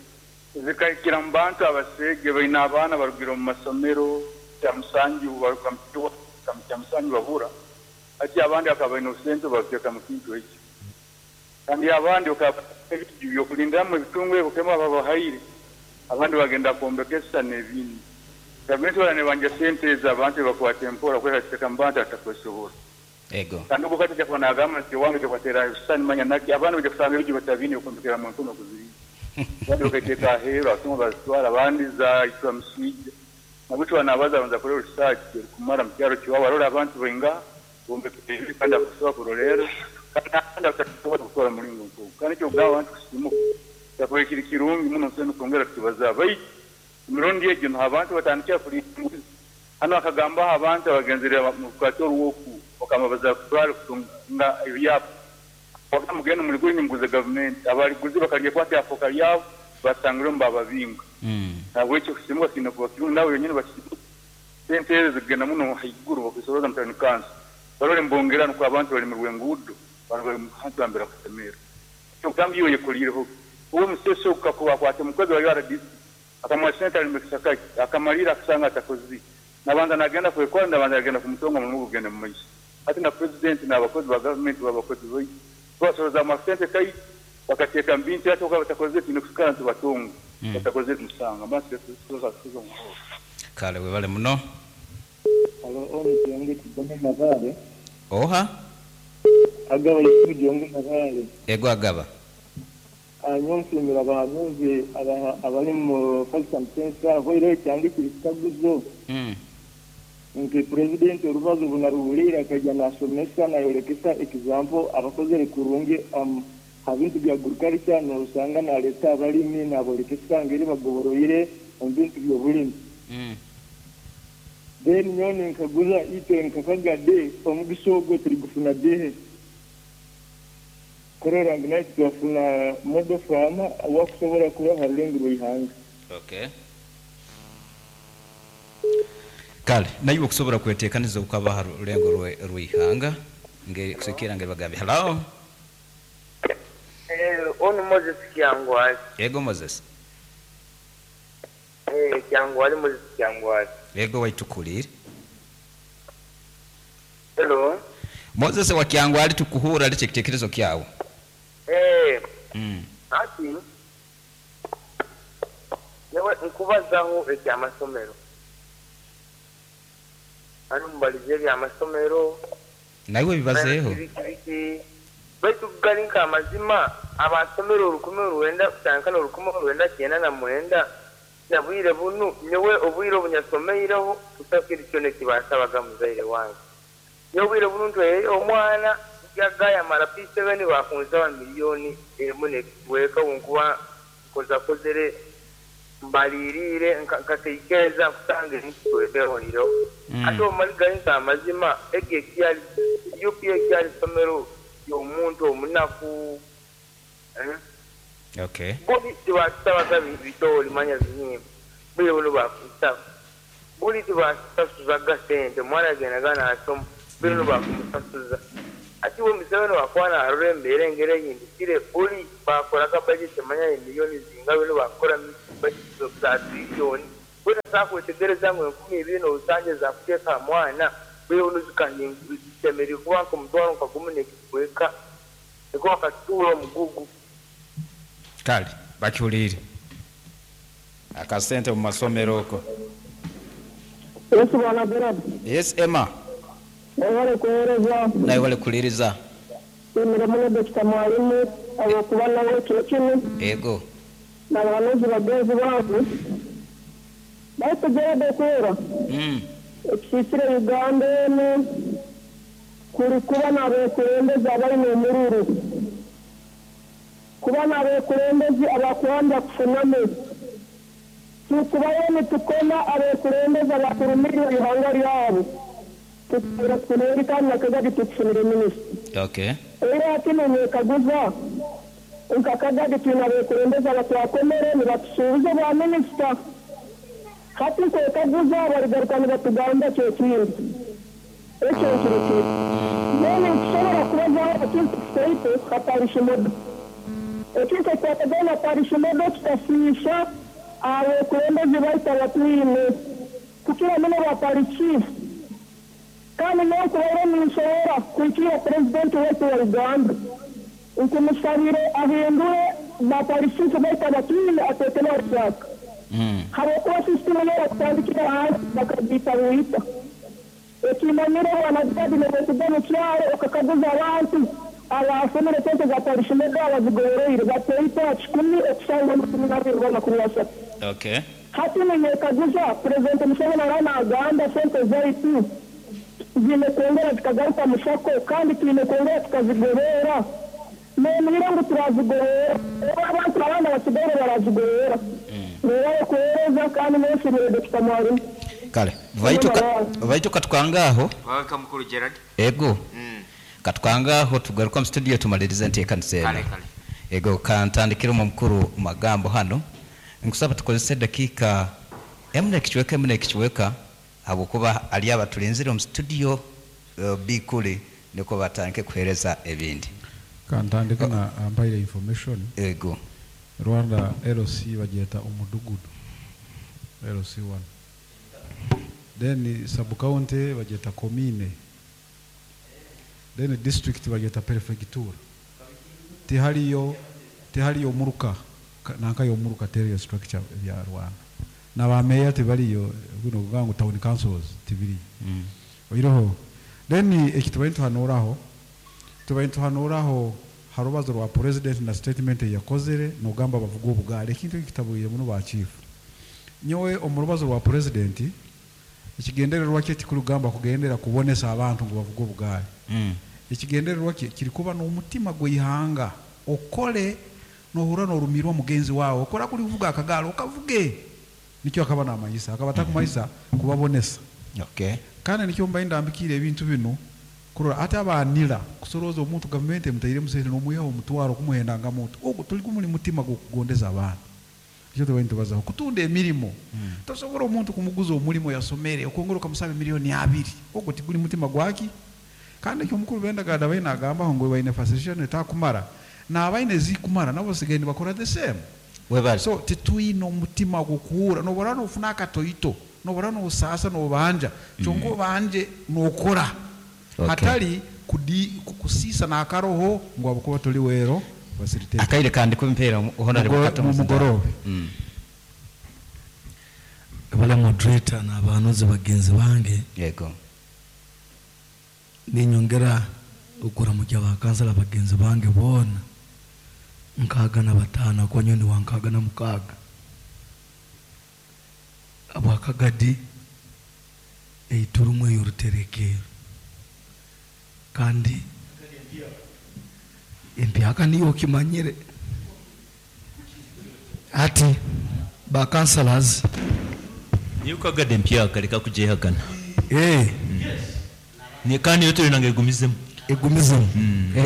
[SPEAKER 10] zikahikira mu bantu abaseege baine abaana barugire omu masomero Kyamusanju baruga mu Kyamusanju babura hati abandi bakaba baine obusente babuteeka mu kintu ekyo. Kandi abandi bakaba baine ebiju by'okulindiramu ebitungo ebi Mukama ababahaire, abandi bagenda kwombeka ebisisani n'ebindi. Gavumenti boona nebanja sente ezo abantu ebibakwata empora kweka ziteka mu bantu abatakwesobora.
[SPEAKER 2] Ego.
[SPEAKER 10] Kandi ogu kati aija kuba nagamba nti owange aija kubateraho ebisisani manya naki, abandi baija kusanga ebiju batabiine by'okwombekeramu empunu okuzirinda. Abandi bakaiteeka aheeru, abatunga bazitwara, abandi zaitwa miswija. Nabweki obu nabaza abanza kurora research erukumara mu kyaro kyowabu arole abantu baingaha bombekere ebintu kandi abakusobora kurolerra kandi abandi abatakusobora kukora mulingo nk'ogu. Kandi eky'okugamba abantu kusiimuka kyakubaire kiri kirungi muno nsoboire n'okwongera kukibazaaho. Baitu emirundi egyo nuho abantu batandikira kulinda embuzi. Hanu akagambaho abantu abagenzere omu rukwata orw'oku bakaba baza kutwara kutunga ebyapa. Bakagamba mugende muligure inywe muguze gavumenti. Abaliguzi bakalyekwata lyafooka lyabo basangirwemu bababinga. Nahabweki okusiimuka kiine kuba kirungi nabo benyini basiimuke. Sente ezo zikugenda muno haiguru bakuzisorooza mu tawuni kanso barole nibongera nukwo abantu balemerwe enguudo abantu bali hantu nambere bakusemerra. Eky'okugamba iwe oyekoliireho ki? Uwe omuseesa ogu kakuba akwata omukozi wa URDC akamuha sente alime ekisaka kye akamalirra akasanga atakozire nabanza nagenda kwekora nabanza yagenda kumutonga omulimo gwe gugende mumaiso. Hati na president n'abakozi ba gavumenti baba bakozi baitu tubasorozaamu akasente kaitu bakateeka mu bintu hati obu bakaba batakozire twine kusigara nitubatonga batakozire musanga mba nsi.
[SPEAKER 2] Kale webale muno.
[SPEAKER 11] Halo onu Kiyonge Kigome Nabaale.
[SPEAKER 2] Oha?
[SPEAKER 11] Agaba Yusufu Jongo Nabaale.
[SPEAKER 2] Ego Agaba.
[SPEAKER 11] Nyowe nsiimire abahanuuzi abari omu First and Tenth hoireho ekyange kiri kikaguzo nti Purezidenti orubazo obu naruhuriire akaija nashomesa nayorekesa example abakozere kurungi aha bintu bya agriculture nosanga nareta abarimi naborekesa ngeri bagoboroire omu bintu by'oburimi. Then nyowe ninkaguza itwe nka Kagade omugisa ogwo turigufuna dihi kurora ngu naitwe twafuna model farmer owakusobora kuba aha rurengo rw'eihanga.
[SPEAKER 2] Okay. Kale naiwe okusobora kwetekaniza okaba aha rulengo rw'eihanga ngeri kusikiira ngeri bagambye. Hello.
[SPEAKER 12] Eh, onu Moses Kyangwali.
[SPEAKER 2] Ego Moses.
[SPEAKER 12] Eh, Kyangwali Moses Kyangwali.
[SPEAKER 2] Ego waitu tukuhuliire.
[SPEAKER 12] Hello.
[SPEAKER 2] Moses wa Kyangwali tukuhuura leta ekitekerezo kyawe.
[SPEAKER 12] Eh, hati nyowe nkubazaho ekyamasomero. Hanu mubalize ebyamasomero.
[SPEAKER 2] Naiwe bibazeeho.
[SPEAKER 12] Biki biki. Baitu gari nk'amazima, abaasomere orukumi orwenda kutandika n'orukumi orwenda kyenda na mwenda, na bwire bunu, nyowe obwire obu nyasomeireho, busaho kintu kyona eki bansabaga muzaire wange. Nyowe obwire bunu ntwaireyo omwana, yagayamara P7 bakunsaba milioni emu n'ekicweka obu nkuba nkozakozere, mbariiriire, nkatekereza nkusanga ebintu twebehorireho. Hati obu mali gari nk'amazima, egi ekyari, UPE ekyari isomero ry'omuntu omunaku.
[SPEAKER 2] Okay.
[SPEAKER 12] Bo tibatusabaga bitooli manya bihimba. Bwire bunu bakumusaba. Buli tibasasuzaga sente, omwana yagendaga nasoma, bwire bunu bakumusasuza. Hati we Museveni wakuba narora embeera engeri ehindukire, buli bakoraga budget manya ye million zinga bwenu bakukora budget za trillion. We tasobola kwetegereza ngu 2,000 n'orusanju ezakuteeka aha mwana, bwire bunu zishemereire kuba nk'omutwaro nka gumu n'ekicweka nikwo bakatutuura omugugu.
[SPEAKER 13] Kale bakihuliire. Akasente mu masomero oko.
[SPEAKER 14] Yes bwana Gerald.
[SPEAKER 13] Yes Emma.
[SPEAKER 14] Webale kuwereza.
[SPEAKER 2] Nawe webale kuhuliriza.
[SPEAKER 14] Nsiimire muno Dokita Mwalimu ahabw'okuba nawe ekiro kinu.
[SPEAKER 2] Ego.
[SPEAKER 14] N'abahanuzi bagenzi bange. Baitu Gerald okurora ekisiisire Uganda enu kuri kuba n'abekulembezi abaine omururu. Kuba n'abekulembezi abakubanza kufunamu. Tukubayo nitukoma abekulembezi abakurumirwa ihanga ryabo. Tukubaire tufunire kandi na Kagadi tukufunire minisita.
[SPEAKER 2] Okay.
[SPEAKER 14] Era hati ninyekaguza nka Kagadi twine abekulembezi abatwakomere nibatusuubiza obwa minisita. Hati nkwekaguza barigaruka nibatugamba ki ekindi. Ekyo nkirekire. Mbwenu nitusobora kubazaho ekintu kitaito ha parish model. Ekintu ekikwatagaine na parish model kikasiisha abekulembezi baitu abatwine, kukira muno ba parish chief. Kandi nyowe nkubaire ninsobora kuhikirra Purezidenti waitu wa Uganda nkumusabire ahindure ba parish chief baitu abatwine ateekemu abahyaka. Habwokuba sisitimu yoona kutandikira hansi bakagiita bwita. Ekimanyire Bwana Gadi nobwokuba omu kyaro okakaguza abantu abaasomire sente za parish model abazigoboroire bataito aha kikumi okusanga 20 oba 30.
[SPEAKER 13] Okay.
[SPEAKER 14] Hati ninyekaguza Purezidenti Museveni araba nagamba sente zaitu ziine kwongera zikagaruka mu sacco kandi twine kwongera tukazigoberera. Noomanyire ngu turazigoberera oba abantu abandi abasigaire barazigoberera. Mwebale kuheereza kandi mwesiimire Dokita Mwalimu.
[SPEAKER 2] Kale baitu ka, baitu katwange aho.
[SPEAKER 7] Welcome mukuru Gerald.
[SPEAKER 2] Ego. Katwange aho tugaruke omu studio tumalirize enteekanisa eno.
[SPEAKER 7] Kale kale.
[SPEAKER 2] Ego kantandikire omu mukuru magambo hanu. Nkusaba tukozese edakiika emu n'ekicweka emu n'ekicweka habwokuba hariyo abatulinzire omu studio Biikuli nikwo batandike kuheereza ebindi.
[SPEAKER 1] Kantandike na ampaire information.
[SPEAKER 2] Ego.
[SPEAKER 1] Rwanda LC bagyeta omudugudu, LC one. Then sub county bagyeta commune. Then district bagyeta perefegitura. Tihariyo tihariyo omuruka nanka y'omuruka teriyo structure ebya Rwanda. Na ba meeya tibariyo binu okugamba ngu town councils tibiriyo. Oihireho then eki tubaire nituhanuuraho, tubaire nituhanuuraho ha rubazo rwa president na statement ei yakozire nogamba abavuga obugaari. Ekintu eki kitabwire muno ba chief. Nyowe omu rubazo rwa president ekigendererwa kye tikuri kugamba kugendera kubonesa abantu ngu bavuge obugaari. Ekigendererwa kye kiri kuba n'omutima gw'eihanga okore nohurra norumiirwa mugenzi waawe, okora kuri kuvuga akagaari okavuge. Nikyo akaba namanyisa, akaba atakumanyisa kubabonesa.
[SPEAKER 2] Okay.
[SPEAKER 1] Kandi nikyo mbaire ndambikiire ebintu binu kurora hati aba nira kusorooza omuntu gavumenti emutairemu sente nomwihaho omutwaro kumuhenda nga muntu, ogwo turi gumuri mutima gw'okugondeza abantu. Nikyo tubaire nitubazaho kutunda emirimo. Tosobora omuntu kumuguza omurimo yasomere okwongera okamusaba emiliyoni abiri, ogwo tiguri mutima gwaki? Kandi ekyo omukuru Bendagard abaire nagambaho ngu baine facilitation etakumara, n'abaine ezikumara nabo basigaire nibakora the same.
[SPEAKER 2] Webale.
[SPEAKER 1] So titwine omutima gw'okuhuura, noba oraba nofuna akatoito, noba oraba nosaasa nobanja, kyonka obanje nokora
[SPEAKER 2] Okay.
[SPEAKER 1] hatari kudi kusiisa n'akaroho ngu ahabw'okuba tori well facilitated.
[SPEAKER 2] Akaire kandi kumpeera Honorable
[SPEAKER 1] Mugo
[SPEAKER 2] Kato Muzindalo.
[SPEAKER 1] mugoroobe.
[SPEAKER 15] Webale moderator n'abahanuzi bagenzi bange.
[SPEAKER 2] Yego.
[SPEAKER 15] Ninyongera okuramukya ba kansala bagenzi bange boona 65 kuba nyowe ndi wa 66 abwa Kagadi eiturimu ey'oruterekerro kandi empyaka niyo okimanyire hati ba councillors.
[SPEAKER 3] Niyo Kagadi empyaka reka kugyehakana.
[SPEAKER 15] Eh.
[SPEAKER 3] Kandi niyo turenda ngu egumizemu.
[SPEAKER 15] Egumizemu.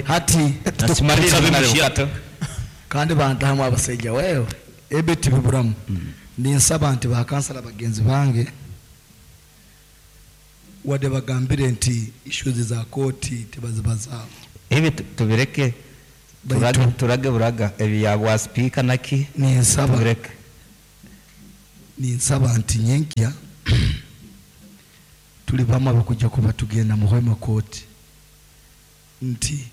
[SPEAKER 15] Hati
[SPEAKER 3] Tukumaliriza
[SPEAKER 15] kandi bantahamu abasaija wewe ebi tibiburamu. Ninsaba nti bakansala bagenzi bange wadde bagambire nti issues za kooti tebazibazaaho.
[SPEAKER 2] Ebi tubireke turage, turage buraga ebi bwa sipiika naki
[SPEAKER 15] Ninsaba.
[SPEAKER 2] Tubireke.
[SPEAKER 15] Ninsaba nti nyenkya tuli bamu abakujja kuba tugenda mu Hoima kooti nti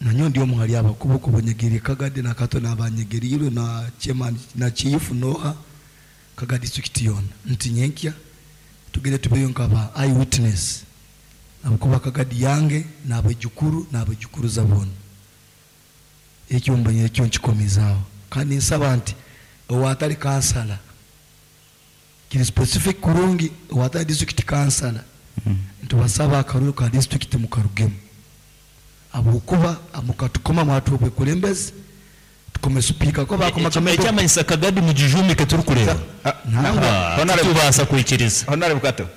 [SPEAKER 15] nanyo ndi omu hali abakubu kubonyegeri Kagadi na Kato n'abanyegerirwe na chairman na chief noha Kagadi district yona nti nyenkya tugende tubeyo nkaba eye witness abakuba Kagadi yange n'abajukuru n'abajukuruza bona ekyo mbanye ekyo nkikomezaawo kandi nsaba nti owatali kansala kiri specific kurungi owatali district kansala ntibasaba akaruru ka district mukarugemu ahabwokuba mukatukoma mwatuha obwekulembezi tukome sipiika ko bakomaga
[SPEAKER 3] Ekyamanyisa Kagadi mugijumike turikureeba. Titubaasa kwikiriza.
[SPEAKER 2] Honorable Kato.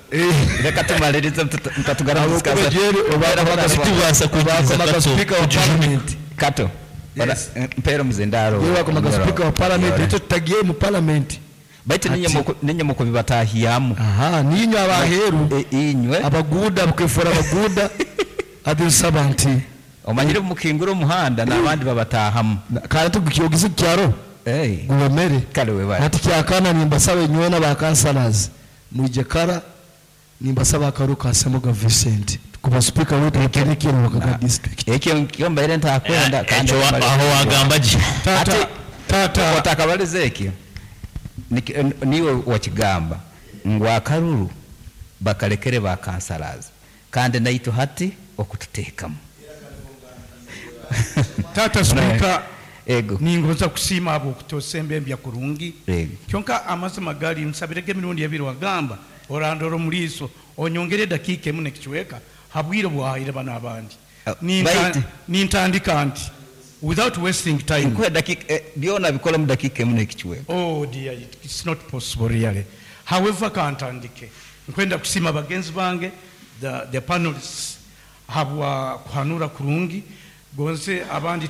[SPEAKER 2] Reka tumalirize mtatugara
[SPEAKER 15] Ahabwokuba Jerry
[SPEAKER 3] Titubaasa kwikiriza
[SPEAKER 15] bakomaga
[SPEAKER 3] Kato
[SPEAKER 15] speaker wa parliament.
[SPEAKER 2] Kato. Mpera muzindaro.
[SPEAKER 15] Yewe bakomaga speaker wa parliament itwe tutagiye mu parliament.
[SPEAKER 2] Baitu ninye mukubibatahiyamu.
[SPEAKER 15] Aha, ninywe abaheru.
[SPEAKER 2] Inywe.
[SPEAKER 15] Abaguda bukefura abaguda. Ati nsaba nti
[SPEAKER 2] omanyire mukingura omuhanda n'abandi babatahamu.
[SPEAKER 15] Kandi tukiyogiza kyaro. Gubamere.
[SPEAKER 2] Kale webale.
[SPEAKER 15] Ati kyakana nimbasaba inywe n'aba councillors mwije kara nimbasaba akaru ka Semuga Vincent kuba speaker wetu aterekere mu Kagadi district.
[SPEAKER 2] Ekyo kyo mbaire ntakwenda kandi
[SPEAKER 3] Ekyo aho wagamba gye.
[SPEAKER 2] Ati tata otakabaliza ekyo niwe wakigamba ngu akaruru bakalekere ba councillors kandi naitu hati okututeekamu.
[SPEAKER 6] Tata Speaker,
[SPEAKER 2] ego
[SPEAKER 6] ningoza kusiima abo okutosemba embya kurungi.
[SPEAKER 2] Ego.
[SPEAKER 6] Kyonka amazima gali nsabirege emirundi ebiri wagamba orandora omuliiso onyongere edakiika emu nekichweka habwire bwahaire bano abandi. Nintandika nti without wasting time.
[SPEAKER 2] Nkuhe dakika byona bikola mu dakiika emu nekichweka.
[SPEAKER 6] Oh dear, it's not possible really. However, kantandike nkwenda kusiima bagenzi bange the panelists habwa kuhanura kurungi gonze abandi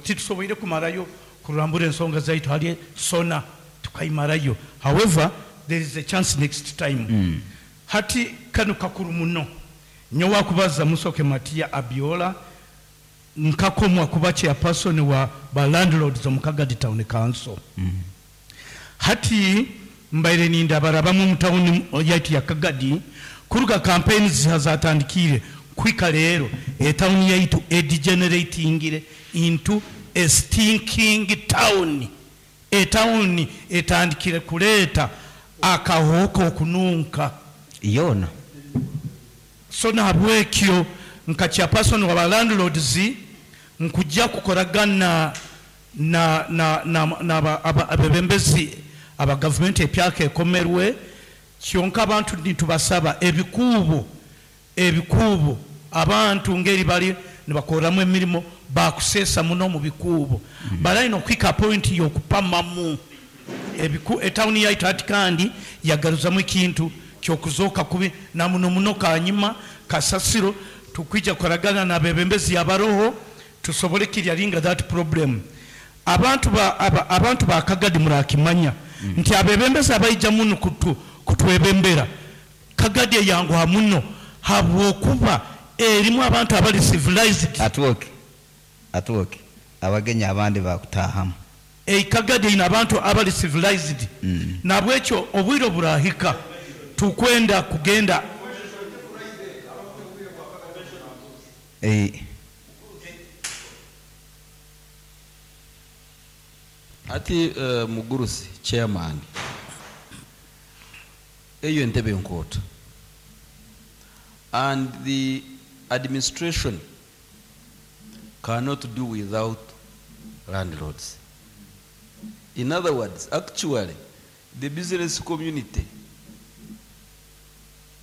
[SPEAKER 6] titusoboire kumarayo kurambura ensonga zaitu hali sona tukaimarayo. However, there is a chance next time. Hati kano kakuru muno nyowa kubaza Musoke Matia Abiola nkakomwa kuba chairperson wa ba landlords omu Kagadi Town Council. Hati mbaire nindabarabamu mu town yaitu ya Kagadi kuruga campaigns zatandikire kwika rero etown yaitu edegeneratingire into a stinking town. Etown etandikire kuleta akahoko okununka
[SPEAKER 2] yona.
[SPEAKER 6] So nahabwekyo nka chairperson wa landlords nkujja kukoragana na na na na abebembezi aba government epyaka ekomerwe kyonka abantu nitubasaba ebikuubo abantu ngeri bali nibakoramu emirimu bakusesa muno mu bikuubo. Balaino kwika point yokupamamu etawuni yaitu ati kandi yagaruzamu ekintu kyokuzoka kubi na muno muno kanyima kasasiro tukwija kukoragana na bebembezi abaroho tusobole kiryaringa that problem. Abantu abantu ba Kagadi murakimanya nti abebembezi abaija muno kutwebembera Kagadi yanguha muno habwokuba erimu abantu abali civilized.
[SPEAKER 2] Atuoke abagenyi abandi bakutahamu.
[SPEAKER 6] Kagadi ina abantu abali civilized. Nabwekyo obwiro burahika tukwenda kugenda
[SPEAKER 16] Ati Mugurusi chairman eyo entebe nkoto and the administration cannot do without landlords. In other words, actually the business community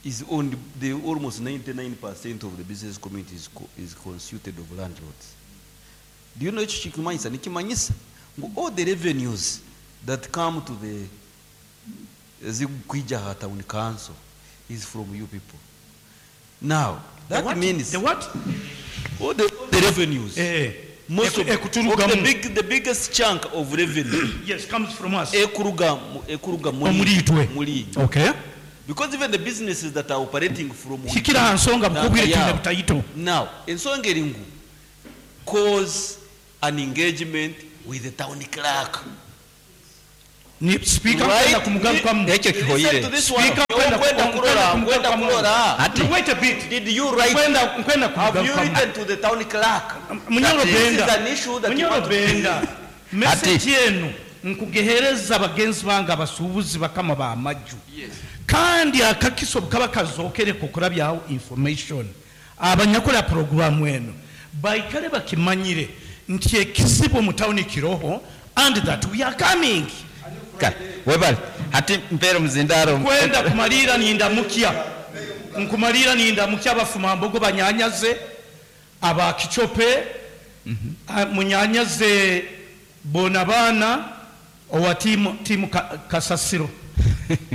[SPEAKER 16] is owned, the almost 99% of the business community is constituted of landlords. Do you know ekyo kikimanyisa? Nikimanyisa ngu all the revenues that come to the zikuija ha town council is from you people. Now, that
[SPEAKER 6] The what?
[SPEAKER 16] means
[SPEAKER 6] The what?
[SPEAKER 16] All the revenues Most of,
[SPEAKER 6] Ekuturugamu.
[SPEAKER 16] of the, big, the biggest chunk of revenue
[SPEAKER 6] yes, comes from us.
[SPEAKER 16] Ekuruga, ekuruga muri,
[SPEAKER 6] Omuri itwe.
[SPEAKER 16] muri.
[SPEAKER 6] Okay.
[SPEAKER 16] Because even the businesses that are operating from
[SPEAKER 6] Hikira aha nsonga bukubwire
[SPEAKER 16] Now,
[SPEAKER 6] twine butaito.
[SPEAKER 16] Now, ensonga eri ngu cause an engagement with the town clerk.
[SPEAKER 6] Ni speaker
[SPEAKER 16] Right?
[SPEAKER 6] nkwenda kumugarukamu.
[SPEAKER 16] Ekyo kihoyire. Listen to this one.
[SPEAKER 6] Speaker nkwenda
[SPEAKER 16] Nkwenda kurora, nkwenda kurora.
[SPEAKER 6] Ati. Wait a bit.
[SPEAKER 16] Did you write?
[SPEAKER 6] Nkwenda nkwenda
[SPEAKER 16] Have you
[SPEAKER 6] kumugarukamu.
[SPEAKER 16] written to the town clerk?
[SPEAKER 6] Munyoro
[SPEAKER 16] That this
[SPEAKER 6] Benda.
[SPEAKER 16] is an issue that you
[SPEAKER 6] Munyoro
[SPEAKER 16] want to
[SPEAKER 6] Benda. Message enu nkugehereza bagenzi bange abasuubuzi bakama bamaju. Kandi akakiso kaba kazokere kukurabyaho information. Abanyakola programu eno baikale bakimanyire nti ekizibu mu tawuni kiroho and that we are coming.
[SPEAKER 2] Kale, webale hati mpeere omuzindaro
[SPEAKER 6] Kwenda kumalira nindamukya nkumalira nindamukya abafumambogo banyanyaze abakicope munyanyaze bona baana owa tiimu tiimu kasasiro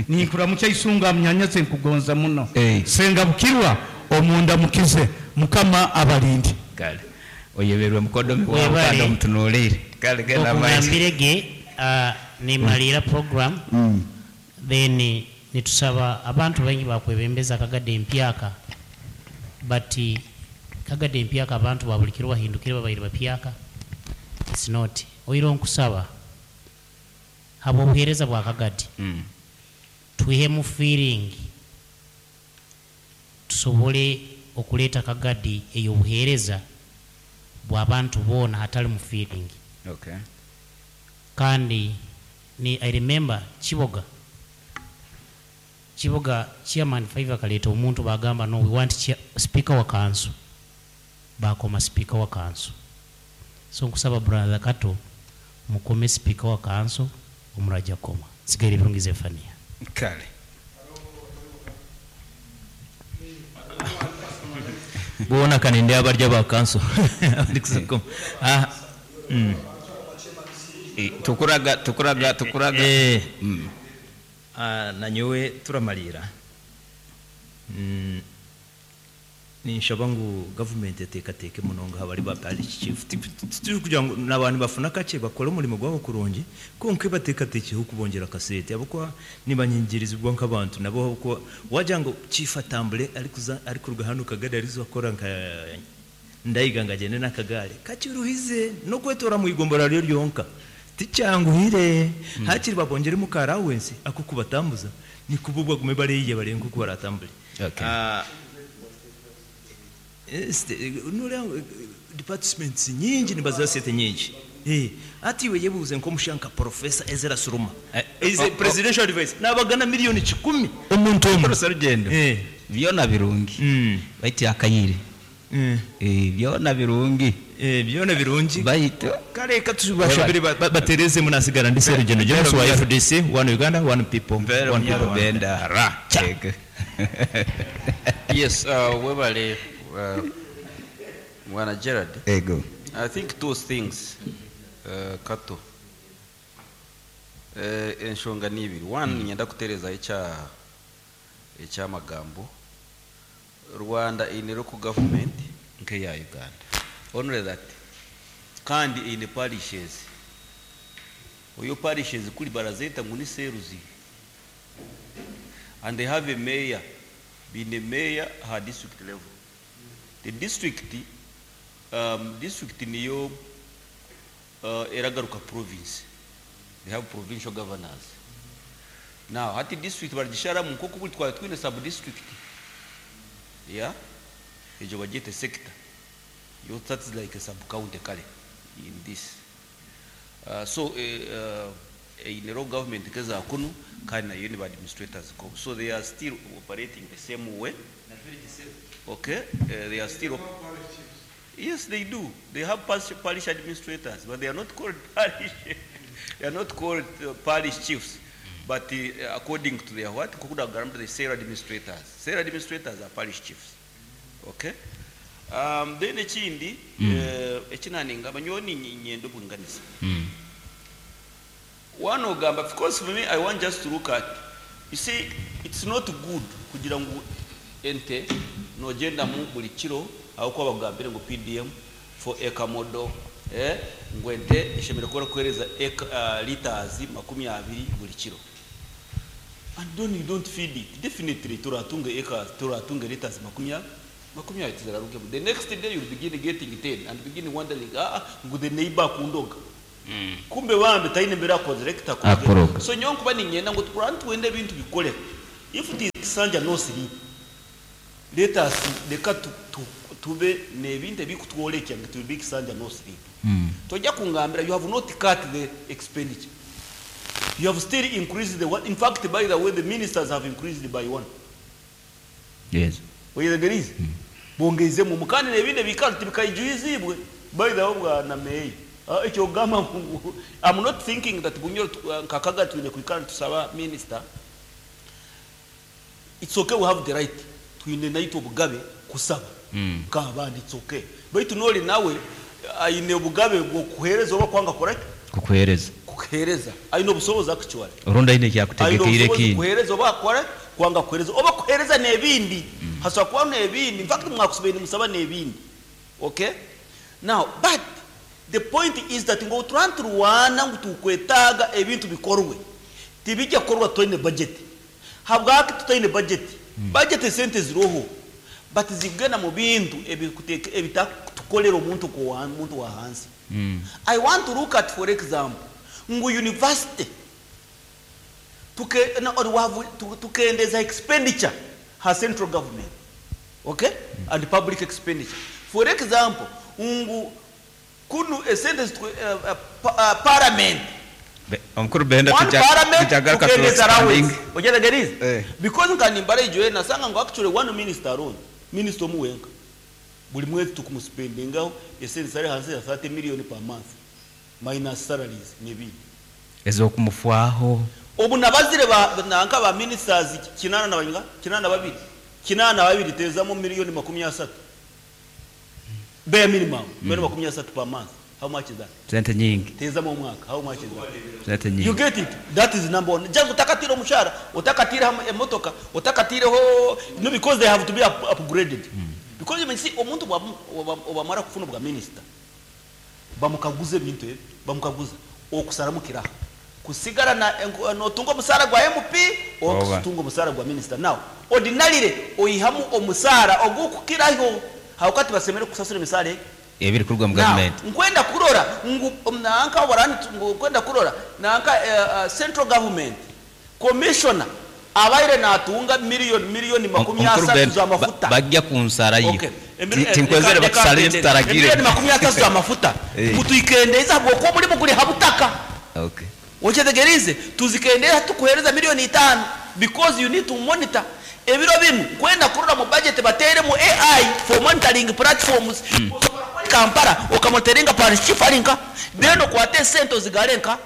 [SPEAKER 6] ninkuramukya isunga munyanyaze nkugonza muno senga bukirwa omunda mukize mukama abalindi
[SPEAKER 13] Kale oyeberwe mukodomi wawe
[SPEAKER 17] Webale.
[SPEAKER 13] kandi omutunuulire. Kale genda maiso.
[SPEAKER 17] Okugambire ge nimalira program then nitusaba abantu baingi bakwebembeza Kagadi empyaka, but Kagadi empyaka abantu babulikiro bahindukire babaire bapyaka. It's not oiro nkusaba haba obuheereza bwa Kagadi twihemu feeling tusobole okuleeta Kagadi ey'obuheereza bw'abantu boona hatali mu feeling.
[SPEAKER 2] Okay.
[SPEAKER 17] Kandi ni I remember Kiboga, Kiboga chairman 5 akaleeta omuntu bagamba no, we want speaker wa council, bakoma speaker wa council. So nkusaba brother Kato mukome speaker wa council omuraja koma sigaire birungi Zefania.
[SPEAKER 2] Kale.
[SPEAKER 3] Bona kanende abarya ba council abari kusakoma.
[SPEAKER 2] Tukuraga tukuraga tukuraga.
[SPEAKER 3] Nanyowe turamalira. Ninshaba ngu government eteekateeke munonga abari ba parish chief turi kugira ngu n'abantu bafuna kakye bakore omurimo gwabo kurungi, konka bateekateekeho kubongyera akasente ahabw'okuba nibanyengyerezibwa nk'abantu nabo, ahabw'okuba wagira ngu chief atambure arikuza arikuruga hanu Kagadi ariza kukora nka Ndayiga ngu agyende n'akagaari kakiruhize n'okwetoora mu igombora ryo ryonka tikyanguhire. Hakiri babongyeremu ka allowance ak'okubatambuza nikubo bagume bareeya barebe nk'oku baratambure.
[SPEAKER 2] Okay.
[SPEAKER 3] Noreeba departments nyingi nibaziha sente nyingi. Ati iwe yebuuze nk'omushanka Professor Ezra Suruma is a presidential advice nabagana 100,000,000
[SPEAKER 2] omuntu omwe rugendo byona birungi baitu akayire. Byona birungi.
[SPEAKER 3] Byona birungi
[SPEAKER 2] baitu
[SPEAKER 3] kale katubashabire batereze munasigara ndi Serugendo James wa FDC, one Uganda, one people, one people, one
[SPEAKER 2] Benda ra.
[SPEAKER 16] Yes, webale Mwana Gerard.
[SPEAKER 2] Ego.
[SPEAKER 16] I think two things, Kato. Enshonga ni ibiri. One, nyenda kutereza ekyamagambo. Rwanda ine local government nke ya Uganda. Only that. Kandi ine parishes. Oyo parishes kuli barazeta ngu ni seruzi. And they have a mayor. Being a mayor her district level. The district, district niyo eragaruka province. They have provincial governors. Now, hati district baragisharamu nkoku buli twari twine sub district. Yeah? Ejo bagiyete sector. Yo, that is like a sub county kale in this. So in the government keza kunu kandi nayo ni ba administrators ko. So they are still operating the same way. Okay, they are still Yes, they do. They have parish administrators, but they are not called parish. They are not called parish chiefs. But according to their what, Kukuda Garambe, they say administrators. Say administrators are parish chiefs. Okay? Then ekindi, ekinaninga, banyoni nyendo bunganisa. One ogamba, of course for me, I want just to look at, you see, it's not good kugira ngu ente nogenda mu buli kiro aho kuba bagambire ngo PDM for eka model Eh, ngu ente eshemereire kuba erikuheereza litres 20 buri kiro. And then you don't feed it. Definitely toratunga acres, toratunga litres 20 tizirarugemu. The next day you'll begin getting 10 and begin wondering, ah, ah, ngu the neighbor akundoga. Kumbe bambi taine mbere akozire kitakozire.
[SPEAKER 13] Akoroga.
[SPEAKER 16] So nyowe nkuba niinyenda ngu tukurane twende ebintu bikore. If it is kisanja no sleep, let us leka tu, tu, tube n'ebintu ebikutworekya ngu it will be kisanja no sleep. Tojja kungambira you have not cut the expenditure. You have still increased the one. In fact, by the way, the ministers have increased by one.
[SPEAKER 13] Yes.
[SPEAKER 16] Oyetegerize? Bongeizemu omu kandi n'ebindi ebikaro tibikaijuizibwe. By the way, bwana Meya. Ah, ekyo ogamba ngu I'm not thinking that Bunyoro nka Kagadi twine kwikara nitusaba minister. It's okay, we have the right. Twine naitwe obugabe kusaba. Nk'abandi, it's okay. Baitu n'ori nawe aine obugabe bw'okuheereza oba kwanga kora ki?
[SPEAKER 13] Kukuheereza.
[SPEAKER 16] Kukuheereza. Aine obusobozi actually.
[SPEAKER 13] Orundi aine ekyakutegekeire
[SPEAKER 16] Aine obusobozi
[SPEAKER 13] ekindi.
[SPEAKER 16] kuheereza oba akora kwanga kuheereza oba kuheereza n'ebindi. Hasobora kubaho n'ebindi. In fact mwakusibaire nimusaba n'ebindi. Okay? Now, but the point is that ngu obu turarwana ngu tukwetaaga ebintu bikorwe, tibijja kukorwa tutaine budget. Habwaki tutaine budget? Budget esente ziroho, but zikugenda mu bintu ebitakutukolera omuntu omuntu wa hansi. I want to look at, for example, ngu university tuke, no, or we have, tukendeza expenditure ha central government, okay, and public expenditure. For example, ngu kunu esente parliament.
[SPEAKER 13] Omukuru Benda
[SPEAKER 16] One parliament
[SPEAKER 13] tujagaruka
[SPEAKER 16] tukendeza
[SPEAKER 13] expanding.
[SPEAKER 16] allowance. Ojetegerize? Because nkanimbara ijoye nasanga ngu actually one minister alone, minister omu wenka, buli mwezi tukumuspendingaho esente zari hansi ya 30 million per month minus salaries n'ebindi.
[SPEAKER 13] Ez'okumufwaho.
[SPEAKER 16] Obu nabazire ba nanka ba ministers kinana na banyinga, 82. 82 tezamu miliyoni 30. Bare minimum, milioni 30 per month. How much is that?
[SPEAKER 13] Sente nyingi.
[SPEAKER 16] Tezamu omwaka, how much is that?
[SPEAKER 13] Sente nyingi.
[SPEAKER 16] You get it? That is number one. Just utakatira omushara, utakatira emotoka, utakatireho, no, because they have to be upgraded. Because you may see omuntu obamara kufuna bwa minister. Bamukaguza ebintu ebi, bamukaguza okusaramukira. Kusigara na notunga omusara gwa MP
[SPEAKER 13] Oba.
[SPEAKER 16] okutunga omusara gwa minister. Now, ordinarily oyihamu omusara ogukukiraho hawakati basemere kusasura emisara egi.
[SPEAKER 13] Ebiri kuruga mu
[SPEAKER 16] Now,
[SPEAKER 13] government.
[SPEAKER 16] nkwenda kurora ngu nanka warani ngu nkwenda kurora nanka central government commissioner abaire natunga miliyoni makumi
[SPEAKER 13] Omukuru
[SPEAKER 16] asatu
[SPEAKER 13] Benda,
[SPEAKER 16] za mafuta.
[SPEAKER 13] bajja kunsara yo.
[SPEAKER 16] Okay.
[SPEAKER 13] Tinkwezere batusale tutaragire.
[SPEAKER 16] Emiliyoni 30 za mafuta. Mutuikendeza habwokuba omulimu guri habutaka.
[SPEAKER 13] Okay.
[SPEAKER 16] Ochetegerize tuzikendeza tukuhereza milioni 5 because you need to monitor ebiro binu kwenda kurora mu budget bateremu AI for monitoring platforms. Kampala okamonitoringa parish chief arinka then okwate sente ozigarenka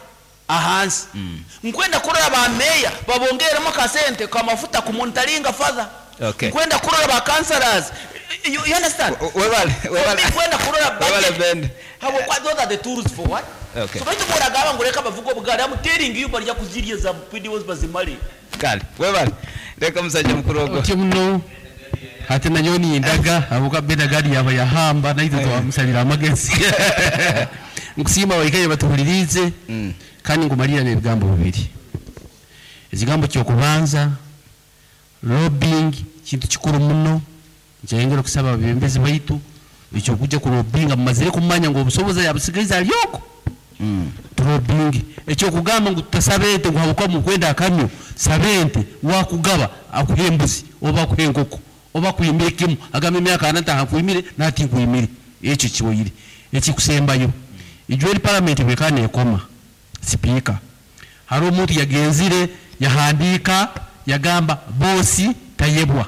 [SPEAKER 16] ahansi. Nkwenda kurora ba mayor babongeremo kasente kamafuta ku monitoringa further.
[SPEAKER 13] Okay.
[SPEAKER 16] Nkwenda kurora ba councillors. You understand?
[SPEAKER 13] Webale, webale.
[SPEAKER 16] Nkwenda kurora
[SPEAKER 13] Webale
[SPEAKER 16] budget.
[SPEAKER 13] Benda.
[SPEAKER 16] Habo kwa those are the tools for what?
[SPEAKER 13] Okay.
[SPEAKER 16] So baitu muragaba ngo reka bavuga obugari I'm telling you barya kuzirya za PDOs bazimale.
[SPEAKER 13] Kale, webale. Reka musajja mukuru ogwo.
[SPEAKER 18] Otyo muno ate nayo nindaga abuka Benda gadi yaba yahamba naitwe twamusabira amagezi. Nkusiima baikaire batuhulirize kandi ngumalira n'ebigambo bibiri. Ekigambo ky'okubanza lobbying kintu kikuru muno, nkyayongera okusaba abebembezi baitu ekyokujja ku lobbyinga mumazire kumanya ngu obusobozi yabusigaize alyoko. Tulobbying ekyokugamba ngu tutasaba ente ngu habwokuba mukwenda akamyu, saba ente wakugaba akuha embuzi oba akuha enkoko oba akuhimire kimu agamba emyaka ana ntaha nkuhimire nati nkuhimire, ekyo kiwoire. Ekikusembayo ijwe eri parliament bwekaba nekoma sipiika hariho omuntu yagenzire yahandiika yagamba bosi tayebwa.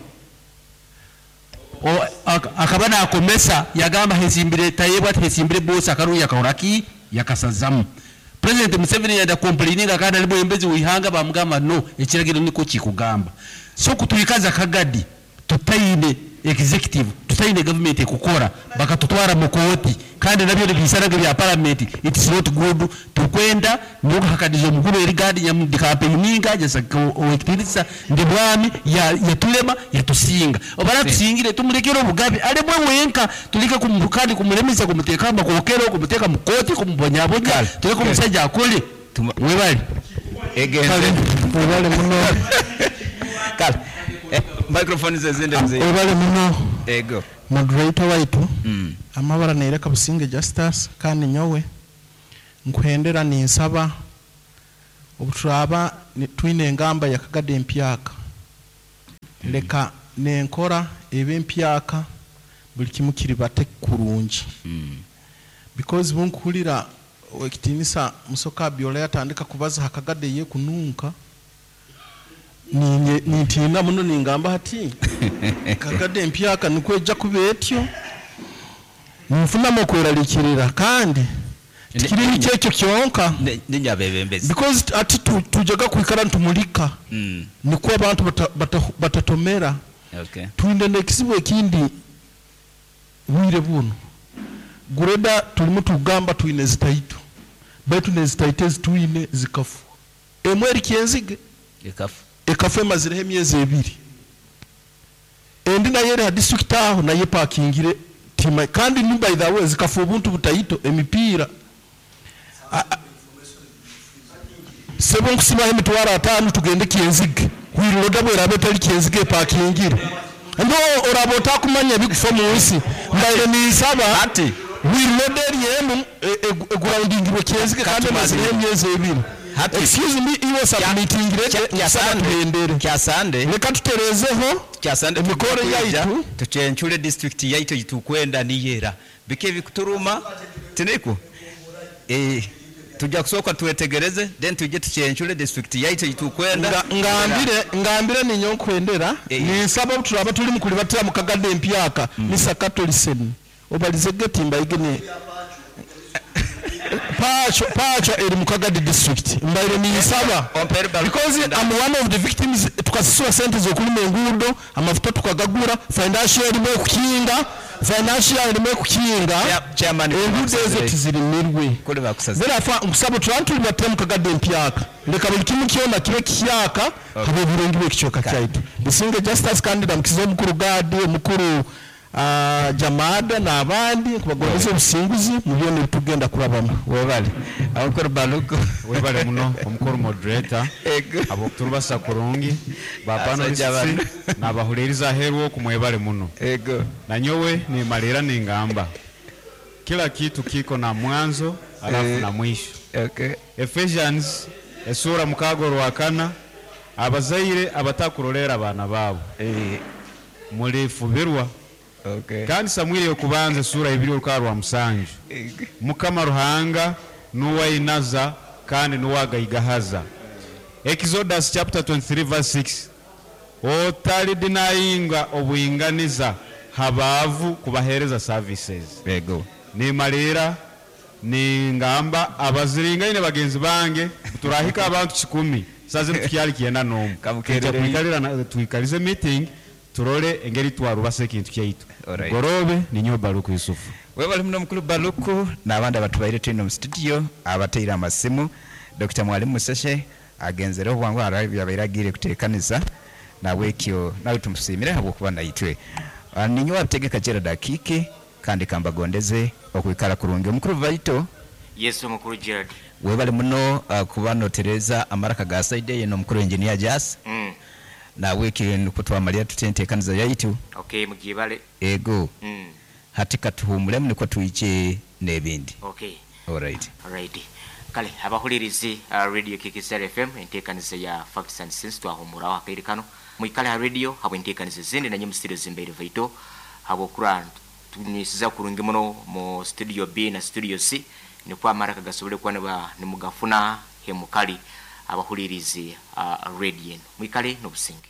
[SPEAKER 18] Akaba nakomesa yagamba hesimbire tayebwa hesimbire bosi akaruya yakahora ki yakasazamu. President Museveni yada complaininga kandi ali mwembezi wihanga bamugamba no ekiragiro niko kikugamba. So kutuikaza Kagadi tutaine executive tutaine gavumenti ekukora bakatutwara mu kooti kandi nabyo nibiisana nk'ebya paramenti it's not good tukwenda n'okuhakaniza omukuru eri gadi nyamu campaigninga owekitiinisa ndi bwami yatulema yatusinga oba atusingire tumulekere obugabe alemwe wenka tuleke kandi kumulemesa kumuteeka amakokero kumuteeka mu kooti kumubonyabonya tuleke omusajja akole webale.
[SPEAKER 13] Egenze.
[SPEAKER 5] Webale muno.
[SPEAKER 13] Kale. Microphone zezinde mzee.
[SPEAKER 5] Webale muno.
[SPEAKER 13] Ego.
[SPEAKER 5] Moderator waitu. Amabara neereka Businge Justus kandi nyowe nkuhendera ninsaba obuturaba twine engamba ya Kagadi empyaka leka nenkora ebe empyaka buli kimu kiribate kurungi because bunkuhulira ekitinisa Musoka Byola yatandika kubaza hakagade ye kununka nintiina muno ningamba hati Kagade empyaka nikwo ejja kuba etyo ninfunamu okweraliikirira kandi tikiri kyekyo kyonka
[SPEAKER 13] Ninyabebembezi.
[SPEAKER 5] because ati tujaga kwikara ntumulika nikwo abantu batatomera twine n'ekizibu ekindi bwire buno gureda tulimu tugamba twine zitaitu baitu nezitaito ezitwine zikafu emwe eri kyenzige
[SPEAKER 13] Ekafu.
[SPEAKER 5] Ekafu emazireho emyezi ebiri endi nayo eri ha district aho nayo epakingire tima kandi ni by the way zikafu obuntu butaito emipiira sebo nkusimaho emitwaro 50 tugende kyenzige hwiroda bweraba etari kyenzige epakingire ndo oraba otakumanya ebikufa mu nsi mbaire ninsaba hwiroda eri emu eguraundingirwe kyenzige kandi emazireho emyezi ebiri. Excuse me, iwe submittingire nsaba tuhendere
[SPEAKER 13] Kyasande.
[SPEAKER 5] Leka tuterezeho
[SPEAKER 13] Kyasande
[SPEAKER 5] emikoro yaitu.
[SPEAKER 13] Tuchenchure district yaitu yitukwenda niyera bike bikuturuma tiniko tujja kusooka twetegereze then tujje tuchenchure district yaitu yitukwenda.
[SPEAKER 5] Ngambire ninyo nkwendera ninsaba turaba tuli mukulibatira mu Kagadi empyaka nisakato listen obalize geti mbaigene pacho pacho eri mu Kagadi district mbaire ninsaba because I'm one of the victims tukasasula sente zokulima enguudo amafuta tukagagura financial erimu okukinga financial erimu okukinga enguudo ezo tizirimirwe.
[SPEAKER 13] Kule bakusaza.
[SPEAKER 5] Therefore nkusaba turaba tuli batemu Kagadi empyaka leka buli kimu kyona kibe kihyaka habe oburungi bw'ekicweka kyaitu. Businge Justus kandi ndamukiza omukuru Gadi omukuru Jamada n'abandi nkubagondeza obusinguzi mu byona ebitugenda kurabamu.
[SPEAKER 13] Webale. Omukuru Baluku.
[SPEAKER 19] Webale muno omukuru moderator. Abo turubasa kurungi ba
[SPEAKER 13] Asajja
[SPEAKER 19] panelists
[SPEAKER 13] bano.
[SPEAKER 19] n'abahuliriza aheeru oku mwebale muno.
[SPEAKER 13] Ego.
[SPEAKER 19] Na nyowe nimalira ningamba kila kitu kiko na mwanzo alafu na mwisho. Ephesians esura 6 rwakana abazaire abatakurolera abaana baabo mulifubirwa. Kandi Samwiri yokubanza esura 2 orukara rwa 7 Mukama Ruhanga nuwainaza kandi nuwagaigahaza. Exodus chapter 23 verse 6 otalidinayinga obwinganiza habaavu kubahereza services.
[SPEAKER 13] Ego.
[SPEAKER 19] Nimalira ningamba abaziringaine bagenzi bange turahika abantu 10 saze tukyali kyenda n'omu.
[SPEAKER 13] Kamukerere.
[SPEAKER 19] Tujja kwikalira twikalize meeting turole engeri twarubasa ekintu kyaitu. Gorobe ninyo Baluku Yusufu.
[SPEAKER 13] Webale muno mukuru Baluku n'abandi abatubaire twine mu studio abateire amasimu. Dr. Mwalimu Museshe agenzereho bwangu yabaire agiire kuteekaniza nabwekyo nawe tumusiimire habwokuba naitwe. Ninyo wabitegeka Gerald Akiki kandi kambagondeze okwikara kurungi. Omukuru Vaito.
[SPEAKER 7] Yesu omukuru Gerald.
[SPEAKER 13] Webale muno kuba notereza amaraka ga side eno omukuru engineer Jas. Nabwekyo nukwo twamalira tutenteekaniza yaitu.
[SPEAKER 7] Okay, mugibale.
[SPEAKER 13] Ego. Hati katuhumulemu nukwo tuije n'ebindi.
[SPEAKER 7] Okay.
[SPEAKER 13] All right.
[SPEAKER 7] All right. Kale abahulirizi Radio KKCR FM enteekaniza ya Facts and Sense twahumuraho akaire kano. Mwikale ha radio habwe enteekaniza ezindi nanye mu studio zimbeire Vaito habwokura tunisiza kurungi muno mu studio B na studio C nikwo amaraka gasobole kuba nimugafuna hemukali abahulirizi radio eno. Mwikale n'obusinge.